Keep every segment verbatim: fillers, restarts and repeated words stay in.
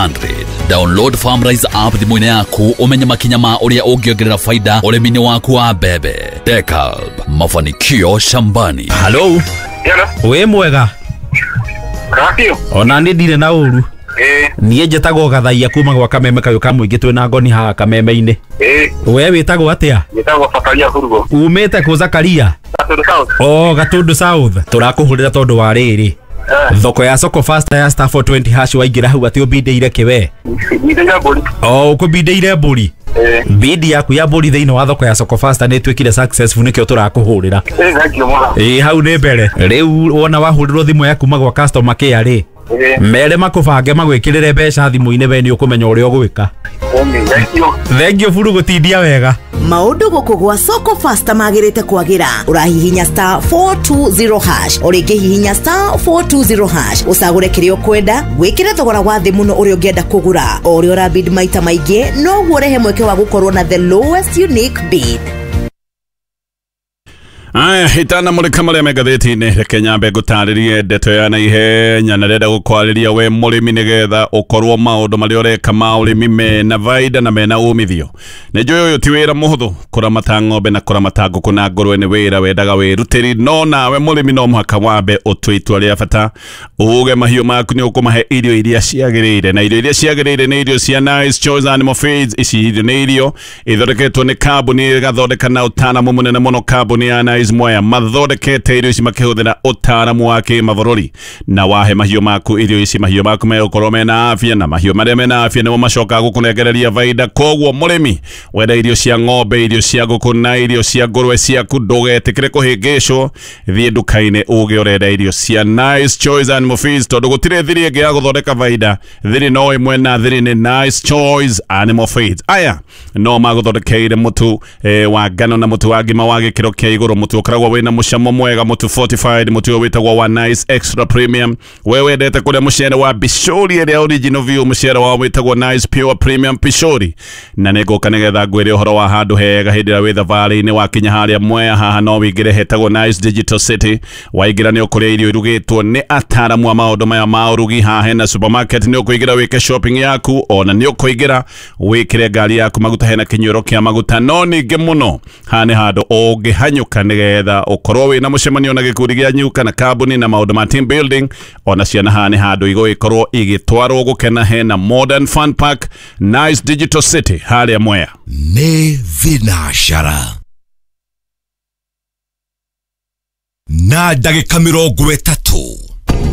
hundred. Download FarmRise app thimũ-inĩ yaku ũmenye makinya ma ũrĩa ũngĩongerera faida ũrĩmi-inĩ waku wa mbembe. DeKalb, mafanikio shambani. Hello. Hello. Wĩ mwega? Kakio. Ona nĩ ndirĩ na ũru. Eh. Niĩ njĩtagwo Gathaia kuma gwa Kameme kayũ ka mũingĩ twĩna ngoni haha Kameme-inĩ. Eh. We wĩtagwo atĩa? Njĩtagwo Zakaria Hurugo. Umĩte kũ Zakaria? Gatundu South. Oh, Gatundu South. Tũrakũhũrĩra tondũ wa rĩrĩ. Eh. Thoko ya Soko Fasta ya star four twenty hash waingĩra hau atĩ ũbindĩire kĩwe. Mbindĩire mbũri. Oh, ũkũbindĩire mbũri. Eh. Bidi yaku ya mbũri thĩinĩ wa thoko ya Soko Fasta nĩ ĩtuĩkire successful nĩkĩo tũrakũhũrĩra. Eh, thank you mũno. Ĩĩ hau nĩ mbere. Rĩu wona wahũrĩrwo thimũ ya kuma gwa customer care rĩ. Eh. Mere makũbange magwĩkĩrĩre mbeca thimũ-inĩ we nĩ ũkũmenya ũrĩa ũgwĩka. Thank you. Thank you buru gũtindia wega. Maũndũ gũkũ gwa Soko Fasta magĩrĩte kwagĩra. Ũrahihinya star four two zero hash. O rĩngĩ hihinya star four two zero hash. Ũcagũre kĩrĩa ũkwenda, wĩkĩre thogora wa thĩ mũno ũrĩa ũngĩenda kũgũra. O ũrĩa ũrabid maita maingĩ, noguo ũrehe mweke wa gũkorwo na the lowest unique bid. Aya, itana mũrĩka marĩa me ngathĩti-inĩ, reke nyambe ngũtarĩrie ndeto ya naihenya na ndĩrenda gũkwarĩria we mũrĩmi nĩgetha ũkorwo maũndũ marĩa ũreka ma ũrĩmi mena baida na mena umithio. Nĩ njũĩ ũyũ ti wĩra mũhũthũ, kũramata ng'ombe na kũramata ngũkũ na ngũrwe nĩ wĩra wendaga wĩrutĩri, no nawe mũrĩmi no mũhaka wambe ũtue itua rĩa bata, uge mahiũ maku nĩ ũkũmahe irio iria ciagĩrĩire, na irio iria ciagĩrĩire nĩ irio cia Nice Choice Animal Feeds. Ici irio nĩ irio ithondeketwo nĩ kambuni ĩgathondeka na ũtaaramu mũnene mũno, kambuni ya Nice Mwea mathondekete irio ici makĩhũthĩra ũtaaramu wa kĩmabũrũri, na wahe mahiũ maku irio ici mahiũ maku megũkorwo mena afya, na mahiũ marĩa mena afya nĩmo macokaga gũkũnengereria baida. Koguo mũrĩmi wenda irio cia ng'ombe, irio cia ngũkũ na irio cia ngũrwe ciaku, ndũgetĩkĩre kũhĩngĩcwo, thiĩ nduka-inĩ uge ũrenda irio cia Nice Choice Animal Feeds, tondũ gũtirĩ thiri ĩngĩ ya gũthondeka baida, thiri no ĩmwe na thiri nĩ Nice Choice Animal Feeds. Aya no magũthondekeire mũtu eh, wa ngano na mũtu wa ngima wa gĩkĩro kĩa igũrũ, mũtu ũkoragwo wĩna mũcamo mwega, mũtu fortified, mũtu ũyũ wĩtagwo wa Nice Extra Premium. We wendete kũrĩa mũcere wa Bishori ĩrĩa original view, mũcere wao wĩtagwo Nice Pure Premium Bishori, na nĩngũka nĩgetha ngwĩre ũhoro wa handũ hega hĩndĩ ĩrĩa wĩ thabarĩ-inĩ wakinya harĩa Mwea haha no wĩingĩre hetagwo Nice Digital City. Waingĩra nĩ ũkũrĩa irio irugĩtwo nĩ ataaramu a maũndũ maya ma ũrugi. Haha hena supermarket, nĩ ũkũingĩra wĩke shopping yaku, ona nĩ ũkũingĩra wĩkĩre ngari yaku maguta, hena kĩnyuĩro kĩa maguta. No ningĩ mũno haha nĩ handũ ũngĩhanyũka nĩgetha ũkorwo wĩna mũcemanio na gĩkundi gĩanyu kana kambuni na maũndũ ma team building. Ona ciana haha nĩ handũ igũgĩkorwo igĩtwarwo gũkena, hena Modern Fun Park, Nice Digital City harĩa Mwea. Nĩ thinacara na ndagĩka mĩrongo ĩtatũ.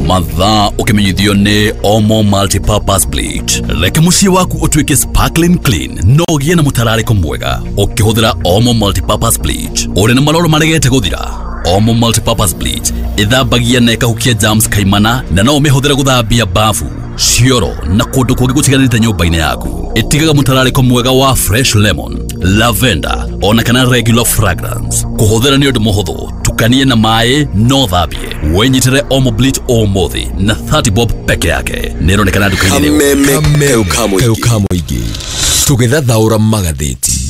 Mathaa ũkĩmenyithio nĩ Omo Multipurpose Bleach. Reke mũciĩ waku ũtuĩke sparkling clean no ũgĩe na mũtararĩko mwega ũkĩhũthĩra Omo Multipurpose Bleach. Ũrĩ na maroro maregete gũthira, Omo Multipurpose Bleach ĩthambagia na ĩkahukia germs kaimana, na no ũmĩhũthĩre gũthambia bafu, cioro na kũndũ kũngĩ gũtiganĩte nyũmba-inĩ yaku. Ĩtigaga mũtararĩko mwega wa fresh lemon, lavender ona kana regular fragrance. Kũhũthĩra nĩ ũndũ mũhũthũ, tukanie na maĩ no thambie. Wĩnyitĩre Omo Bleach ũmũthĩ na thirty bob peke yake. Nĩ ĩronekana nduka-inĩ rĩu. Kameme kayũ ka mũingĩ tũgĩthathaũra magathĩti.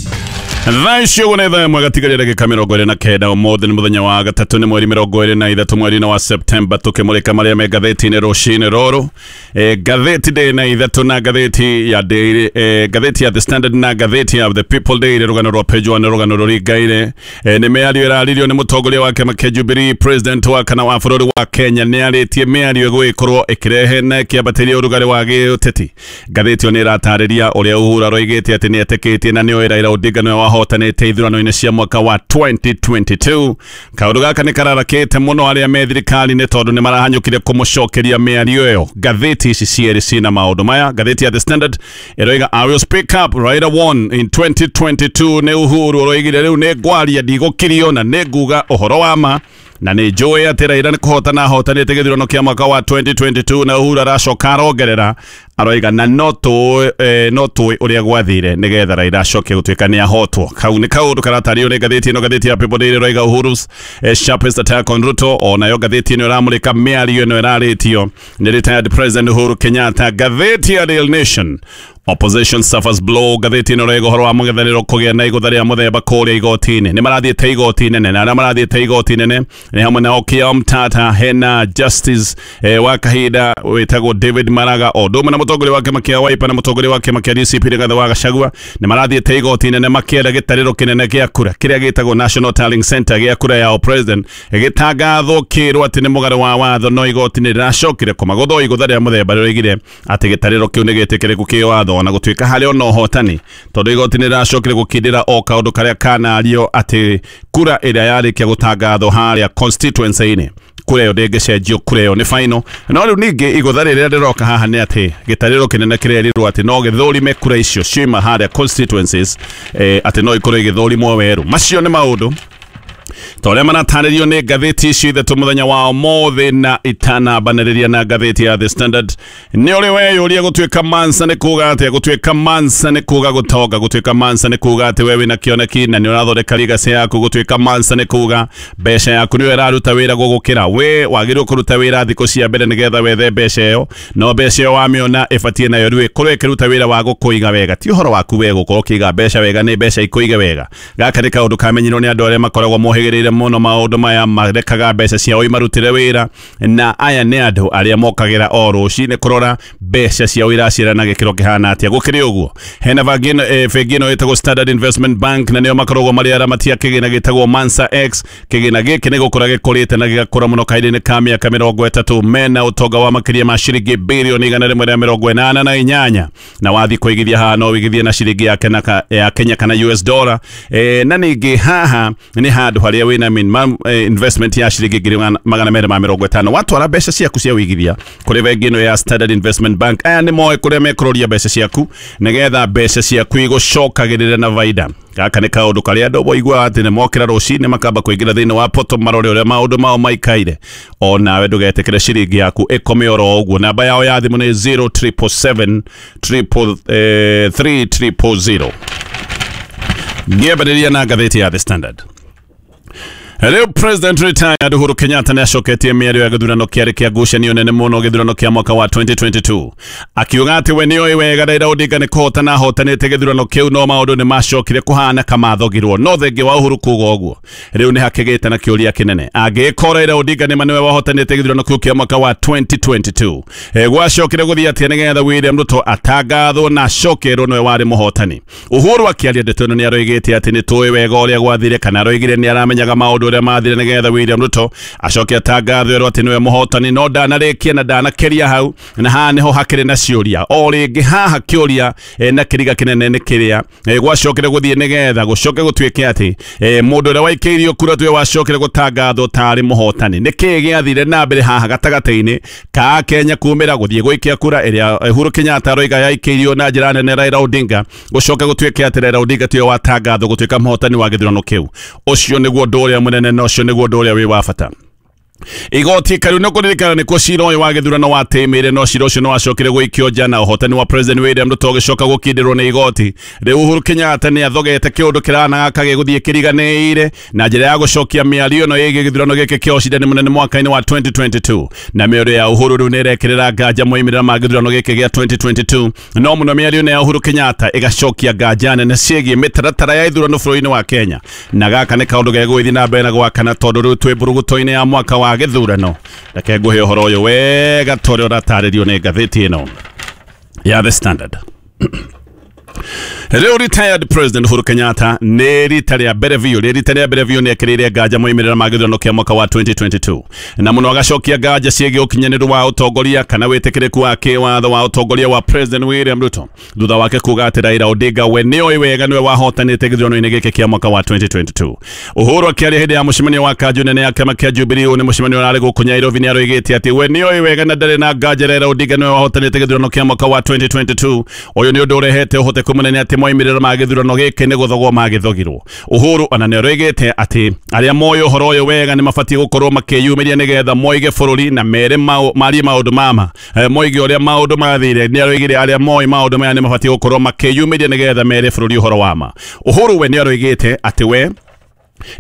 Thaa icio ũguo nĩ thaa ĩmwe gatigaria ndagĩka mĩrongo ĩrĩ na kenda. Ũmũthĩ nĩ mũthenya wa gatatũ, nĩ mweri mĩrongo ĩrĩ na ithatũ mweri-inĩ wa Septemba, tũkĩmũrĩka marĩa me ngathĩti-inĩ rũcinĩ rũrũ. E, ngathĩti ndĩ na ithatũ na ngathĩti ya Daily, e, ngathĩti ya The Standard na ngathĩti ya The People Daily. Rũgano rwa page one rũgano rũringaine. E, nĩ mĩario ĩraririo nĩ mũtongoria wa kĩama kĩa Jubilee, president wa kana wa bũrũri wa Kenya, nĩ arĩtie mĩario ĩgũgĩkorwo ĩkĩrehe na ĩkĩambatĩria ũrugarĩ wa gĩũteti. Ngathĩti ĩyo nĩ ĩratarĩria ũrĩa Uhuru aroigĩte atĩ nĩ etĩkĩtie na nĩoĩ Raila Odinga nĩwe wahotanĩte ithurano-inĩ cia mwaka wa twenty twenty-two. Kaũndũ gaka nĩ kararakĩte mũno arĩa me thirikari-inĩ tondũ nĩ marahanyũkire kũmũcokeria mĩario ĩyo. Ngathĩti ici cierĩ ciĩna maũndũ maya. Ngathĩti ya The Standard ĩroiga I will speak up, Raila won in twenty twenty-two. Nĩ Uhuru ũroigire rĩu nĩ ngwaria, ndigũkirio na nĩ nguga ũhoro wa ma, na nĩ njũĩ atĩ Raila nĩ kũhotana ahotanĩte gĩthurano kĩa mwaka wa twenty twenty-two, na Uhuru aracoka arongerera aroiga na no tũĩ eh, no tũĩ ũrĩa gwathire nĩgetha Raila acoke gũtuĩka nĩ ahotwo. Kau nĩ kaũndũ karatario nĩ ngathĩti ĩno. Ngathĩti ya People Daily ĩroiga Uhuru's eh, sharpest attack on Ruto. Onayo ngathĩti ĩno ĩramũrĩka mĩario ĩno ĩrarĩtio nĩ retired President Uhuru Kenyatta. Ngathĩti ya Daily Nation Opposition suffers blow ngathĩti ĩno rĩgo ũhoro wa mũng'ethanĩro kũgĩa na igũtha rĩa mũthemba kũrĩa igoti-inĩ. Nĩ marathiĩte igoti nene na arĩa marathiĩte igoti nene nĩ hamwe na Okiya Omtatah, hena Justice eh, wa kahinda wĩtagwo David Maraga, o ũndũ ũmwe na mũtongoria wa kĩama kĩa Wiper na mũtongoria wa kĩama kĩa D C P Rigathĩ wa Gachagua. Nĩ marathiĩte igoti nene makĩenda gĩtarĩro kĩnene gĩa kura kĩrĩa gĩtagwo National Tallying Center gĩa kura ya president gĩtangathwo kĩrwo atĩ nĩ mũgarũ wa watho, no igoti nĩ rĩracokire kũmagũthwo igũtha rĩa mũthemba rĩroigire atĩ gĩtarĩro kĩu nĩ gĩtĩkĩrĩku kĩwatho, na gũtuĩka harĩ ona ũhotani tondũ igoti nĩ rĩracokire gũkindĩra o kaũndũ karĩa kanario atĩ kura ĩrĩa yarĩkia gũtangathwo harĩa constituency-inĩ kura ĩyo ndĩngĩcenjio, kura ĩyo nĩ final. No rĩu ningĩ igũtha rĩrĩa rĩroka haha nĩ atĩ gĩtarĩro kĩnene kĩrerirwo atĩ no gĩthũrime kura icio ciuma harĩa constituencies, eh, atĩ no ikorwo igĩthũrimwo werũ. Macio nĩ maũndũ ta ũrĩa maratarĩrio nĩ ngathĩti ici ithatũ mũthenya wa ũmũthĩ, na itanambanĩrĩria na ngathĩti ya The Standard. Nĩ ũrĩ weyũria gũtuĩka mansa nĩ kuga atĩa? Gũtuĩka mansa nĩ kuga gũtonga, gũtuĩka mansa nĩ kuga atĩ we wĩna kĩoneki na nĩ ũrathondeka legacy yaku, gũtuĩka mansa nĩ kuga mbeca yaku nĩyo ĩraruta wĩra gũgũkĩra. We wagĩrĩirwo kũruta wĩra thikũ cia mbere nĩgetha wethe mbeca ĩyo, no mbeca ĩyo wamĩona ĩbatiĩ nayo rĩu ĩkorwo ĩkĩruta wĩra wa gũkũiga wega. Ti ũhoro waku we gũkorwo ũkĩiga mbeca wega, nĩ mbeca ikũige wega. Gaka nĩ kaũndũ kamenyirwo nĩ andũ arĩa makoragwo mohĩgĩrĩire mũno maũndũ maya, marekaga mbeca ciao imarutĩre wĩra, na aya nĩ andũ arĩa mokagĩra o rũcinĩ kũrora mbeca ciao iraciara na gĩkĩro kĩhana atĩa. Gũkĩrĩ ũguo hena bengi ĩno ĩtagwo Standard Investment Bank, na nĩo makoragwo marĩ aramatia kĩgĩna gĩtagwo Mansa X. Kĩgĩna gĩkĩ nĩ gũkũra gĩkũrĩte na gĩgakũra mũno kahinda-inĩ ka mĩaka mĩrongo ĩtatũ, mena ũtonga wa makĩria ma ciringi birioni igana rĩmwe rĩa mĩrongo ĩnana na inyanya, na wathiĩ kũigithia haha no ũigithie na ciringi ya Kenya kana U S dollar. Na ningĩ haha nĩ handũ harĩa wĩna minimum investment ya ciringi ngiri magana merĩ ma mĩrongo ĩtano. Watwara mbeca ciaku cia ũigithia kũrĩ bengi ĩno ya Standard Investment Bank, aya nĩ moĩ kũrĩa mekũroria mbeca ciaku nĩgetha mbeca ciaku igũcokagĩrĩra na baida. Gaka nĩ kaũndũ karĩa andũ moiguaga atĩ nĩ mokĩra rũcinĩ makamba kũingĩra thĩinĩ wa poto marore ũrĩa maũndũ mao maikaire. O nawe ndũgetĩkĩre ciringi yaku ĩkome oro ũguo. Namba yao ya thimũ nĩ zero triple seven triple three triple zero. Ngĩambĩrĩria na ngathĩti ya The Standard. Rĩu President retired Uhuru Kenyatta nĩ acoketie mĩario ya gĩthurano kĩarĩ kĩa ngucanio nene mũno gĩthurano kĩa mwaka wa twenty twenty-two, akiuga atĩ we nĩoĩ wega Raila Odinga nĩ kũhotana ahotanĩte gĩthurano kĩu, no maũndũ nĩ macokire kũhana kamathogirwo. No thengia wa Uhuru kuga ũguo, rĩu nĩ hakĩgĩte na kĩũria kĩnene, angĩkorwo Raila Odinga nĩ ma nĩwe wahotanĩte gĩthurano kĩu kĩa mwaka wa twenty twenty-two, gwacokire gũthiĩ atĩa nĩgetha William Ruto atangathwo na acokerwo nĩwe warĩ mũhotani? Uhuru akĩaria ndeto ĩno nĩ aroigĩte atĩ nĩ tũĩ wega ũrĩa gwathire, kana aroigire nĩ aramenyaga maũndũ ũrĩa mathire nĩgetha William Ruto acoke atangathwo erwo atĩ nĩwe mũhotani, no ndanarĩkia na ndanakĩria hau, na haha nĩho hakĩrĩ na ciũria. O rĩngĩ haha kĩũria na kĩriga kĩnene nĩ kĩrĩa gwacokire gũthiĩ nĩgetha gũcoke gũtuĩke atĩ mũndũ ũrĩa waikĩirio kura tuwe wacokire gũtangathwo tarĩ mũhotani. Nĩ kĩĩ gĩathire na mbere haha gatagatĩ-inĩ ka Kenya kumĩra gũthiĩ gũikia kura ĩrĩa Uhuru Kenyatta aroiga yaikĩirio na njĩra nene Raila Odinga, gũcoke gũtuĩke atĩ Raila Odinga tiwe watangathwo gũtuĩka mũhotani wa gĩthurano kĩu? Ũcio nĩguo ũndũ ũrĩa mũnene na ũcio nĩguo ũndũ ũrĩa wĩ wa bata. Igoti karu nĩ kũririkana nĩkuo cira ũyũ wa gĩthurano watĩmĩire, no cira ũcio nĩ wacokire gũikio nja na ũhotani wa President William Ruto ũgĩcoka gũkindĩrwo nĩ igoti. Rĩu Uhuru Kenyatta nĩ athogete kĩũndũ kĩranaga kagĩgũthiĩ kĩriganĩire na njĩra ya gũcokia mĩario ĩno ĩgiĩ gĩthurano gĩkĩ kĩa ũcindani mũnene mwaka-inĩ wa twenty twenty-two, na mĩario ya Uhuru rĩu nĩ ĩrekĩrĩra nganja moimĩrĩra ma gĩthurano gĩkĩ gĩa twenty twenty-two, no mũno mĩario ĩno ya Uhuru Kenyatta ĩgacokia nganja nene ciĩgiĩ mĩtaratara ya ithurano bũrũri-inĩ wa Kenya. Na gaka nĩ kaũndũ gegũgĩthiĩ na mbere na gwakana tondũ rĩu twĩ mburuguto-inĩ ya mwaka wa gĩthurano. Reke ngũhe ũhoro ũyũ wega ta ũrĩa ũratarĩrio nĩ ngathĩti ĩno ya The Standard. Rĩu retired President Uhuru Kenyatta nĩ rita rĩa mbere biũ rĩ rita rĩa mbere biũ nĩ ekĩrĩire nganja moimĩrĩra ma gĩthurano kĩa mwaka wa twenty twenty-two, na mũno agacokia nganja ciĩgiĩ ũkinyanĩru wa ũtongoria kana wĩtĩkĩrĩku wa kĩwatho wa ũtongoria wa President William Ruto, thutha wake kuga atĩ Raila Odinga we nĩoĩ wega nĩwe wahotanĩte gĩthurano-inĩ gĩkĩ kĩa mwaka wa twenty twenty-two. Uhuru akĩaria hĩndĩ ya mũcemanio wa kanjũ nene ya kĩama kĩa Jubilee, nĩ mũcemanio ũrarĩ gũkũ Nairobi, nĩ aroigĩte atĩ we nĩoĩ wega na ndarĩ na nganja Raila Odinga nĩwe wahotanĩte gĩthurano kĩa mwaka wa twenty twenty-two. Ũyũ nĩ ũndũ ũrehete ũhoteku mũnene atĩ moimĩrĩro ma gĩthurano gĩkĩ nĩ gũthogwo magĩthogirwo. Uhuru ona nĩ aroigĩte atĩ arĩa moĩ ũhoro ũyũ wega nĩ mabatiĩ gũkorwo makĩyumĩria nĩgetha moige bũrũri na mere marie maũndũ mama moige ũrĩa maũndũ mathire. Nĩ aroigire arĩa moĩ maũndũ maya nĩ mabatiĩ gũkorwo makĩyumĩria nĩgetha mere bũrũri ũhoro wa ma. Uhuru we nĩ aroigĩte atĩ we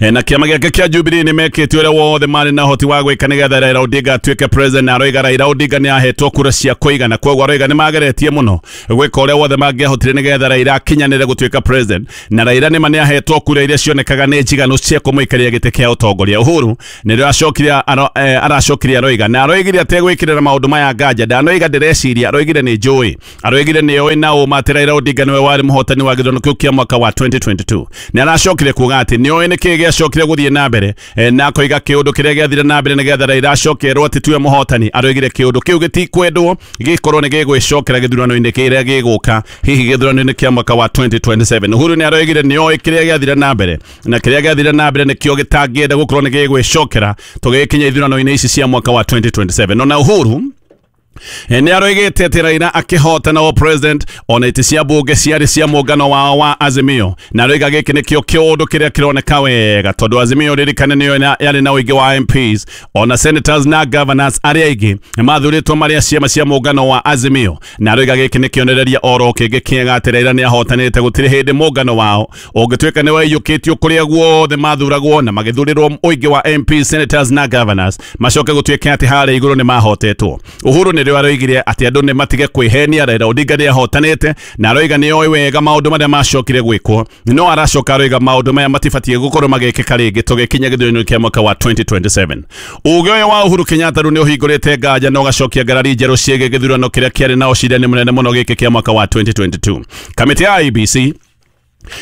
Na kĩama gĩake kĩa Jubilee nĩ mekĩte ũrĩa wothe marĩ na ũhoti wa gwĩka nĩgetha Raila Odinga atuĩke president, na aroiga Raila Odinga nĩ ahetwo kura cia kũigana, koguo aroiga nĩ mageretie mũno gwĩka ũrĩa wothe mangĩahotire nĩgetha Raila akinyanĩre gũtuĩka president, na Raila nĩma nĩ ahetwo kura iria cionekaga nĩ njiganu cia kũmũikaria gĩtĩ kĩa ũtongoria. Uhuru nĩrĩo acokire aracokire aroiga na aroigire ategwĩkĩrĩra maũndũ maya nganja, ndanoiga ndĩreciria, aroigire nĩ njũĩ, aroigire nĩ oĩ na ũma atĩ Raila Odinga nĩwe warĩ mũhotani wa gĩthurano kĩu kĩa mwaka wa twenty twenty-two. Nĩ aracokire kuga atĩ nĩ oĩ nĩkĩ gĩacokire gũthiĩ na mbere, na akoiga kĩũndũ kĩrĩa gĩathire na mbere nĩgetha Raila acokerwo atĩ tiwe mũhotani. Aroigire kĩũndũ kĩu gĩtikwendwo gĩkorwo nĩ gĩgwĩcokera gĩthurano-inĩ kĩrĩa gĩgũka, hihi gĩthurano-inĩ kĩa mwaka wa twenty twenty-seven. Uhuru nĩ aroigire nĩ oĩ kĩrĩa gĩathire na mbere, na kĩrĩa gĩathire na mbere nĩkĩo gĩtangĩenda gũkorwo nĩ gĩgwĩcokera tũgĩkinya ithurano-inĩ ici cia mwaka wa twenty twenty-seven. Ona Uhuru nĩ aroigĩte atĩ Raila akĩhotana o president ona itĩ cia bunge ciarĩ cia mũngano wao wa Azimio, na aroiga gĩkĩ nĩkĩo kĩũndũ kĩrĩa kĩroneka wega tondũ Azimio ririkane nĩyo yarĩ na ũingĩ wa M Ps ona senators na governors arĩa aingĩ mathurĩtwo marĩa ciama cia mũngano wa Azimio, na aroiga gĩkĩ nĩ kĩonereria oro kĩngĩ kĩega atĩ Raila nĩ ahotanĩte, gũtirĩ hĩndĩ mũngano wao ũngĩtuĩka nĩ waiyũkĩtio kũrĩa guothe mathuragwo na magĩthurĩrwo ũingĩ wa M Ps, senators na governors macoke gũtuĩke atĩ harĩa igũrũ nĩ mahotetwo. Uhuru nĩ aroigire atĩ andũ nĩ matige kwĩhenia, Raila Odinga nĩ ahotanĩte, na aroiga nĩ oĩ wega maũndũ marĩa macokire gwĩkwo, no aracoka aroiga maũndũ maya matibatiĩ gũkorwo magĩkĩka rĩngĩ tũgĩkinya gĩthurano kĩa mwaka wa twenty twenty-seven. Uge ũyũ wa Uhuru Kenyatta rĩu nĩ ũhingũrĩte nganja na ũgacokia ngarari njerũ ciĩgiĩ gĩthurano kĩrĩa kĩarĩ na ũcindani mũnene mũno gĩkĩ kĩa mwaka wa twenty twenty-two. Kamĩtĩ ya I E B C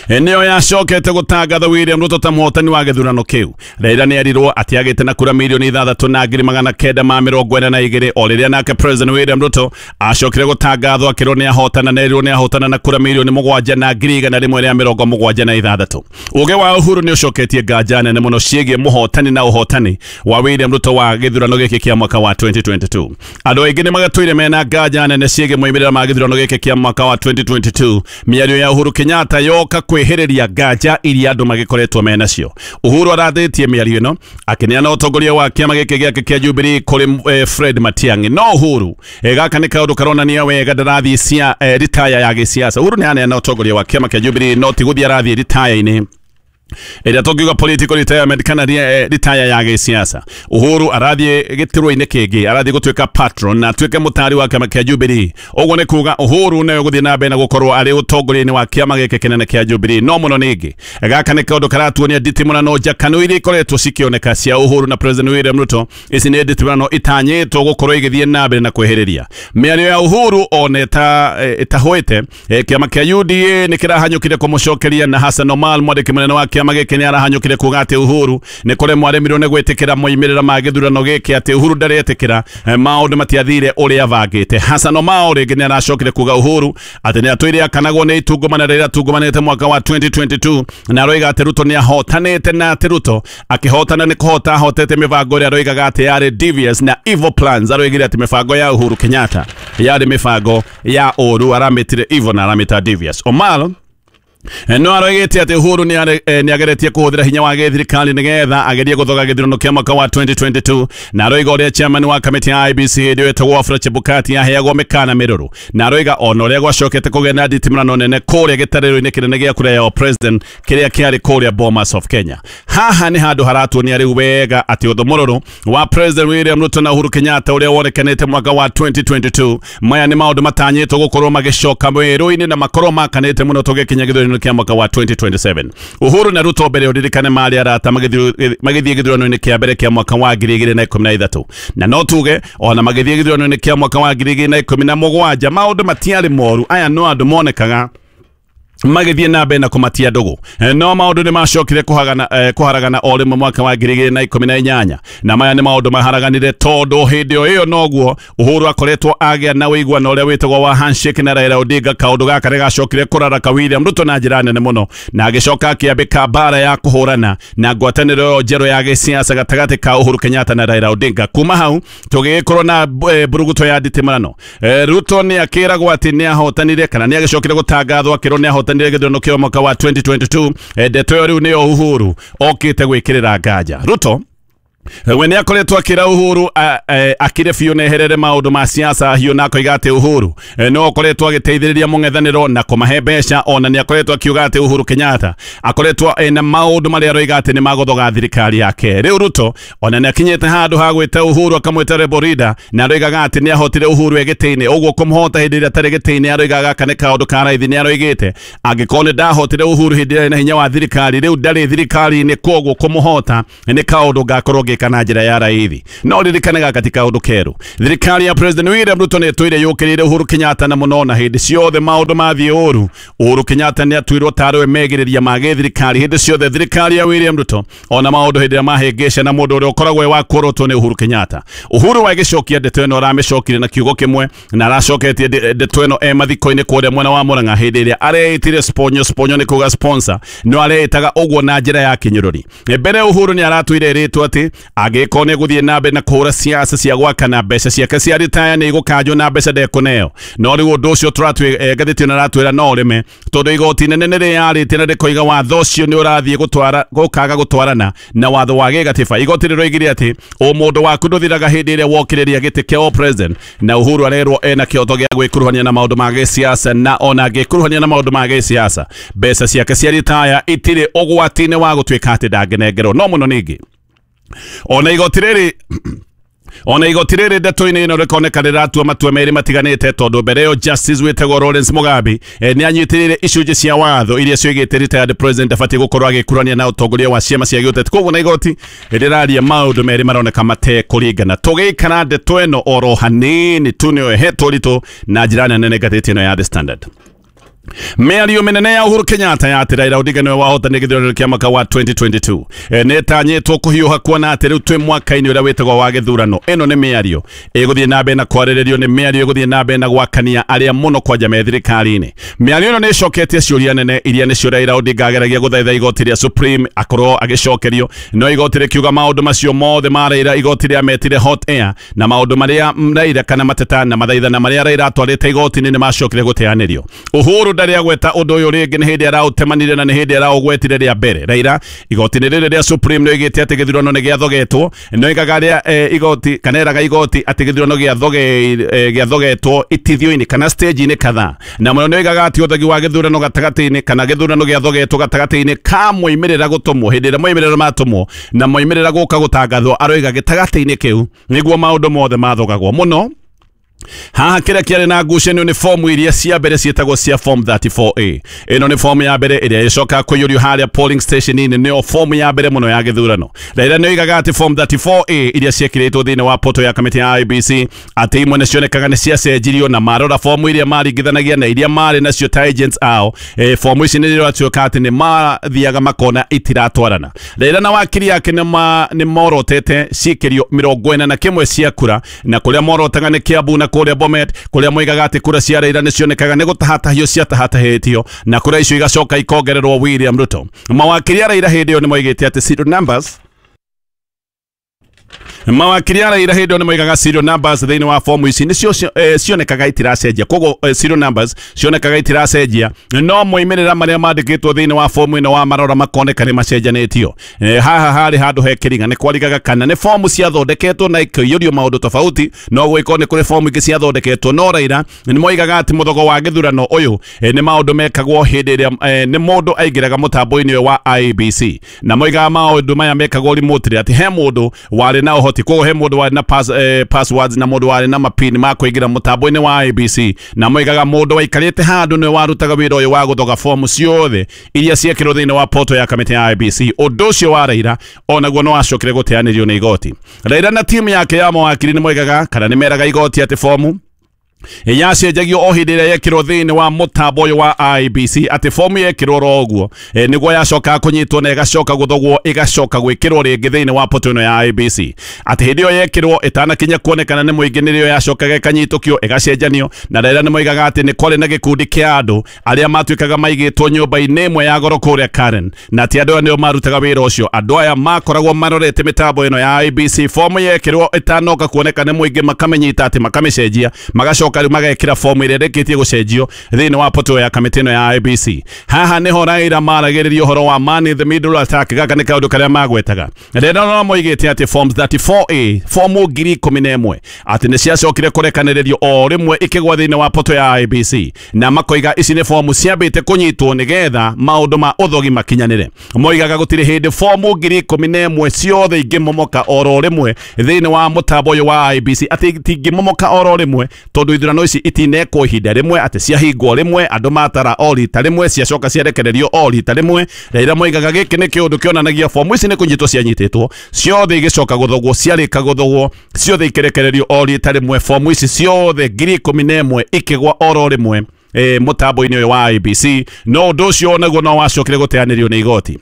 nĩyo yacokete gũtangatha William Ruto ta mũhotani wa gĩthurano kĩu. Raila nĩ erirwo atĩ agĩte na kura mirioni ithathatũ na ngiri magana kenda ma mĩrongo ĩna na igĩrĩ, o rĩrĩa nake President William Ruto acokire gũtangathwo akĩrwo nĩ ahotana na erirwo nĩ ahotana na kura mirioni mũgwanja na ngiri igana rĩmwe rĩa mĩrongo mũgwanja na ithathatũ. Ũge wa Uhuru nĩ ũcoketie nganja nene mũno ciĩgiĩ mũhotani na ũhotani wa William Ruto wa gĩthurano gĩkĩ kĩa mwaka wa twenty twenty-two. Andũ aingĩ nĩ magatũire mena nganja nene ciĩgiĩ moimĩrĩra ma gĩthurano gĩkĩ kĩa mwaka wa twenty twenty-two. Mĩario ya Uhuru Kenyatta yoka kwĩhĩrĩria nganja iria andũ magĩkoretwo menacio. Uhuru arathĩtie mĩario ĩno akĩneana ũtongoria wa kĩama gĩkĩ gĩake kĩa Jubilee kũrĩ eh, Fred Matiang'i. No Uhuru eh, gaka nĩ kaũndũ karonania wega ndarathiĩ cia eh, ritaya ya gĩsiasa. Uhuru nĩ aneana ũtongoria wa kĩama kĩa Jubilee no ti gũthiĩ arathiĩ ritaya-inĩ ĩrĩa tũngiuga political retirement kana ritaya ya gĩsiasa. Uhuru arathiĩ gĩturwa-inĩ kĩngĩ, arathiĩ gũtuĩka patron na atuĩke mũtari wa kĩama kĩa Jubilee. Ũguo nĩ kuga Uhuru nĩwe gũthiĩ na mbere na gũkorwo arĩ ũtongoria-inĩ wa kĩama gĩkĩ kĩnene kĩa Jubilee. No mũno ningĩ gaka nĩ kaũndũ karatuonia nditimũrano njakanu iria ikoretwo cikĩoneka cia Uhuru na President William Ruto. Ici nĩ nditimũrano itanyĩtwo gũkorwo igĩthiĩ na mbere na kwĩhĩrĩria. Mĩario ya Uhuru ona ĩtahũĩte, kĩama kĩa U D A nĩ kĩrahanyũkire kũmũcokeria na Hassan Omar mwandĩki mũnene wa kĩama gĩkĩ nĩ arahanyũkire kuga atĩ Uhuru nĩ kũremwo aremirwo nĩ gwĩtĩkĩra moimĩrĩra ma gĩthurano gĩkĩ, atĩ Uhuru ndaretĩkĩra maũndũ matiathire ũrĩa avangĩte. Hassan Omar rĩngĩ nĩ aracokire kuga Uhuru atĩ nĩ atũire akanagwo nĩ itungumana rĩrĩa atungumanĩte mwaka wa twenty twenty-two, na aroiga atĩ Ruto nĩ ahotanĩte na atĩ Ruto akĩhotana nĩ kũhota ahotete mĩbango ĩrĩa aroigaga atĩ yarĩ devious na evil plans. Aroigire atĩ mĩbango ya Uhuru Kenyatta yarĩ mĩbango ya ũru, aramĩtire evil na aramĩta devious. Omar no aroigĩte atĩ Uhuru nĩ ageretie kũhũthĩra hinya wa gĩthirikari nĩgetha agerie gũthoga gĩthurano kĩa mwaka wa twenty twenty-two, na aroiga ũrĩa chairman wa kamĩtĩ ya I B C hĩndĩ ĩyo ĩtagwo Wafula Chebukati aheagwo mĩkana mĩrũrũ, na aroiga ona ũrĩa gwacokete kũgĩa na nditimũrano nene kũrĩa gĩtarĩro-inĩ kĩnene gĩa kura ya president kĩrĩa kĩarĩ kũrĩa Bomas of Kenya. Haha nĩ handũ haratuonia rĩu wega atĩ ũthũ mũrũrũ wa President William Ruto na Uhuru Kenyatta ũrĩa wonekanĩte mwaka wa twenty twenty-two, maya nĩ maũndũ matanyĩtwo gũkorwo magĩcoka werũ-inĩ na makorwo makanĩte mũno tũgĩkinya gĩthurano kĩa mwaka wa twenty twenty-seven. Uhuru na Ruto mbere ũririkane marĩ arata magĩthiĩ gĩthurano-inĩ kĩa mbere kĩa mwaka wa ngiri igĩrĩ na ikũmi na ithatũ, na no tuge ona magĩthiĩ gĩthurano-inĩ kĩa mwaka wa ngiri igĩrĩ na ikũmi na mũgwanja maũndũ matiarĩ moru. Aya no andũ monekaga magĩthiĩ na mbere na kũmatia ndũgũ, no maũndũ nĩ macokire kũhagana kũharagana o rĩmwe mwaka wa ngiri igĩrĩ na ikũmi na inyanya, na maya nĩ maũndũ maharaganire tondũ hĩndĩ o ĩyo noguo Uhuru akoretwo agĩa na ũiguano ũrĩa wĩtagwo wa handshake na Raila Odinga. Kaũndũ gaka nĩ gacokire kũraraka William Ruto na njĩra nene mũno, na agĩcoka akĩambĩka mbara ya kũhũrana na ngwatanĩro ĩyo njerũ ya gĩsiasa gatagatĩ ka Uhuru Kenyatta na Raila Odinga. Kuma hau tũgĩgĩkorwo na mburuguto ya nditimũrano. Ruto nĩ akĩragwo atĩ nĩ ahotanire kana nĩ agĩcokire gũtangathwo akĩrwo nĩ ahotanire gĩthurano kĩa mwaka wa twenty twenty-two. Ndeto ĩyo rĩu nĩyo Uhuru okĩte gwĩkĩrĩra nganja. Ruto We nĩ akoretwo akĩra Uhuru akire biũ na eherere maũndũ ma siasa hiũ, na akoiga atĩ Uhuru no akoretwo agĩteithĩrĩria mũng'ethanĩro na kũmahe mbeca. Ona nĩ akoretwo akiuga atĩ Uhuru Kenyatta akoretwo ena maũndũ marĩa aroiga atĩ nĩ magũthoga thirikari yake. Rĩu Ruto ona nĩ akinyĩte handũ ha gwĩta Uhuru akamwĩta rebel leader, na aroigaga atĩ nĩ ahotire Uhuru e gĩtĩ-inĩ, ũguo kũmũhota hĩndĩ ĩrĩa atarĩ gĩtĩ-inĩ aroigaga gaka nĩ kaũndũ ka raithi. Nĩ aroigĩte angĩkorwo nĩ ndahotire Uhuru hĩndĩ ĩrĩa na hinya wa thirikari, rĩu ndarĩ thirikari-inĩ, kwoguo kũmũhota nĩ kaũndũ ngakorwo ngĩka na njĩra ya raithi. No ririkane gaka ti kaũndũ keru. Thirikari ya President William Ruto nĩ ĩtũire yũkĩrĩire Uhuru Kenyatta na mũno, na hĩndĩ ciothe maũndũ mathiĩ ũru Uhuru Kenyatta nĩ atuirwo tarĩ we megĩrĩria ma gĩthirikari hĩndĩ ciothe. Thirikari ya William Ruto ona maũndũ hĩndĩ ĩrĩa mahĩngĩca na mũndũ ũrĩa ũkoragwo wa kũrotwo nĩ Uhuru Kenyatta. Uhuru agĩcokia ndeto ĩno aramĩcokire na kiugo kĩmwe, na aracoketie ndeto ĩno e mathiko-inĩ kũrĩa mwena wa Murang'a hĩndĩ ĩrĩa areĩtire sponyo sponyo nĩ kuga sponsor, no areĩtaga ũguo na njĩra ya kĩnyũrũri. Mbere Uhuru nĩ aratwire ĩrĩtwo atĩ angĩkorwo nĩ gũthiĩ na mbere na kũhũra siasa cia gwakana, mbeca ciake cia ritaya nĩ igũkanjwo na mbeca ndekũneo. No rĩu ũndũ ũcio tũratwĩ ngathĩti ĩno aratwĩra no ũrĩme, tondũ igoti nene nĩ rĩyarĩtie na rĩkoiga watho ũcio nĩ ũrathiĩ gũtwara gũkaga gũtwarana na watho wa gĩgatiba. Igoti rĩroigire atĩ ũmũndũ waku ndũthiraga hĩndĩ ĩrĩa wokĩrĩria gĩtĩ kĩa president, na Uhuru arerwo ena kĩhoto gĩa gwĩkuruhania na maũndũ ma gĩsiasa, na ona angĩkuruhania na maũndũ ma gĩsiasa mbeca ciake cia ritaya itirĩ ũgwati-inĩ wa gũtuĩka atĩ ndangĩnengerwo. No mũno ningĩ ona igoti rĩrĩ ona igoti rĩrĩ ndeto-inĩ ĩno rĩkoneka rĩratua matua merĩ matiganĩte, tondũ mbere ĩyo Justice wĩtagwo Lawrence Mugambi eh, nĩ anyitĩrĩire icunjĩ cia watho iria cioigĩte retired president abatiĩ gũkorwo agĩkurania na ũtongoria wa ciama cia gĩũteti. Koguo na igoti rĩraria maũndũ merĩ maroneka matekũringana. Tũgĩikara ndeto ĩno oro hanini tu nĩyo ĩhetwo ũritũ na njĩra nene ngathĩti ĩno ya The Standard. Mĩario mĩnene ya Uhuru Kenyatta ya atĩ Raila Odinga nĩwe wahotanire gĩthurano kĩa mwaka wa twenty twenty-two e, nĩtanyĩtwo kũhiũha kuona atĩ rĩu twĩ mwaka-inĩ ũrĩa wĩtagwo wa gĩthurano. Ĩno nĩ mĩario ĩgũthiĩ na mbere na kwarĩrĩrio, nĩ mĩario ĩgũthiĩ na mbere na gwakania arĩa mũno kwanja me thirikari-inĩ. Mĩario ĩno nĩ ĩcoketie ciũria nene iria nĩcio Raila Odinga ageragia gũthaitha igoti rĩa Supreme akorwo agĩcokerio, no igoti rĩkiuga maũndũ macio mothe ma Raila igoti rĩametire hot air, na maũndũ marĩa Raila kana mateta na mathaithana marĩa Raila atwarĩte igoti-inĩ nĩ macokire gũteanĩrio. Uhuru ndarĩ agweta ũndũ ũyũ rĩngĩ, nĩ hĩndĩ araũtemanire na nĩ hĩndĩ araũgwetire rĩa mbere. Raila igoti-inĩ rĩrĩ rĩa Supreme nĩ oigĩte atĩ gĩthurano nĩ gĩathogetwo, no igaga rĩa eh, igoti kana eraga igoti atĩ gĩthurano gĩathogetwo itithio-inĩ kana stage-inĩ kadhaa, na mũno nĩ oigaga atĩ ũthegi wa gĩthurano gatagatĩ-inĩ kana gĩthurano gĩathogetwo gatagatĩ-inĩ ka moimĩrĩra gũtũmwo hĩndĩ ĩrĩa moimĩrĩra matũmwo na moimĩrĩra gũka gũtangathwo, aroiga gĩtagatĩ-inĩ kĩu nĩguo maũndũ mothe mathogagwo mũno. Haha kĩrĩa kĩarĩ na ngucanio nĩ fomu iria cia mbere ciĩtagwo cia form thirty-four A. Ĩno nĩ fomu ya mbere ĩrĩa ĩcokaga kũiyũrio harĩa polling station-inĩ, nĩyo fomu ya mbere mũno ya gĩthurano. Raila nĩ oigaga atĩ form thirty-four A iria ciekĩrĩtwo thĩinĩ wa portal ya kamĩtĩ ya I B C atĩ imwe nĩ cionekaga nĩ ciacenjirio, na marora fomu iria maringithanagia na iria marĩ nacio ta agents ao, e, fomu ici nĩ iratuĩka atĩ nĩ mathiaga makona itiratwarana. Raila na wakiri yake nĩ morotete ciĩkĩrio mĩrongo ĩna na kĩmwe cia kura, na kũrĩa morotaga nĩ Kiambu na kũrĩa Bomet, kũrĩa moigaga atĩ kura cia Raila nĩ cionekaga nĩ gũtahatahio ciatahatahĩtio, na kura icio igacoka ikongererwo William Ruto. Mawakiri a Raila hĩndĩ ĩyo nĩ moigĩte atĩ serial numbers mawakiri a Raila hĩndĩ ĩyo nĩ moigaga serial numbers thĩinĩ wa fomu ici nĩcio eh, cionekaga itiracenjia, koguo eh, serial numbers cionekaga itiracenjia, no moimĩrĩra marĩa mandĩkĩtwo thĩinĩ wa fomu ĩno wa marora makoneka nĩ macenjanĩtio. Eh, haha harĩ handũ he kĩringa nĩ kwarigaga kana nĩ fomu ciathondeketwo na ikaiyũrio maũndũ tofauti, no gwĩkorwo nĩ kũrĩ fomu ingĩ ciathondeketwo, no Raila nĩ moigaga atĩ mũthogo wa gĩthurano ũyũ eh, nĩ maũndũ mekagwo hĩndĩ ĩrĩa eh, nĩ mũndũ aingĩraga mũtambo-inĩ ũyũ wa I B C, na moigaga maũndũ maya mekagwo remotely, atĩ he mũndũ warĩ na ũhoti, koguo he mũndũ warĩ na pass, eh, passwords na mũndũ warĩ na mapin ma kũingĩra mũtambo-inĩ wa I B C, na moigaga mũndũ waikarĩte handũ nĩwe warutaga wĩra ũyũ wa gũthoga fomu ciothe iria ciekĩrwo thĩinĩ wa portal ya kamĩtĩ ya I B C. Ũndũ ũcio wa Raila onaguo no wacokire gũteanĩrio nĩ igoti. Raila na timu yake ya mawakiri nĩ moigaga kana nĩ meraga igoti atĩ fomu yacenjagio o hĩndĩ ĩrĩa yekĩrwo thĩinĩ wa mũtambo ũyũ wa I B C, atĩ fomu yekĩrwo ro ũguo e, nĩguo yacoka kũnyitwo na ĩgacoka gũthogwo ĩgacoka gwĩkĩrwo rĩngĩ thĩinĩ wa portal ĩno ya I B C, atĩ hĩndĩ ĩyo yekĩrwo ĩtanakinya kuonekana nĩ mũingĩ nĩrĩo yacokaga ĩkanyitũkio ĩgacenjanio. Na Raila nĩ moigaga atĩ nĩ kwarĩ na gĩkundi kĩa andũ arĩa matuĩkaga maigĩtwo nyũmba-inĩ ĩmwe ya goro kũrĩa Karen, na atĩ andũ aya nĩo marutaga wĩra ũcio. Andũ aya makoragwo marorete mĩtambo ĩno ya I B C, fomu yekĩrwo ĩtanoka kuoneka nĩ mũingĩ makamĩnyita atĩ makamĩcenjia magacoka magacoka rĩu magekĩra fomu ĩrĩa ĩrĩkĩtie gũcenjio thĩinĩ wa portal ya kamĩtĩ ĩno ya I E B C. Haha nĩho Raila maragĩrĩria ũhoro wa man in the middle attack. Gaka nĩ kaũndũ karĩa magwetaga. Rĩrĩa no moigĩte atĩ forms thirty-four A, fomu ngiri ikũmi na ĩmwe atĩ nĩ ciacokire kũrekanĩrĩrio o rĩmwe ikĩgwa thĩinĩ wa portal ya I E B C, na makoiga ici nĩ fomu ciambĩte kũnyitwo nĩgetha maũndũ ma ũthogi makinyanĩre. Moigaga gũtirĩ hĩndĩ fomu ngiri ikũmi na ĩmwe ciothe ingĩmomoka oro rĩmwe thĩinĩ wa mũtambo ũyũ wa I E B C, atĩ itingĩmomoka oro rĩmwe tondũ ithurano ici itinekwo ihinda rĩmwe, atĩ ciahingwo rĩmwe, andũ matara o rita rĩmwe, ciacoka ciarekererio o rita rĩmwe. Raila moigaga gĩkĩ nĩ kĩũndũ kĩonanagia fomu ici nĩ kũnyitwo cianyitĩtwo ciothe igĩcoka gũthogwo, ciarĩka gũthogwo ciothe ikĩrekererio o rita rĩmwe, fomu ici ciothe ngiri ikũmi na ĩmwe ikĩgwa oro rĩmwe e, mũtambo-inĩ ũyũ wa I E B C. No ũndũ ũcio naguo no wacokire gũteanĩrio nĩ igoti.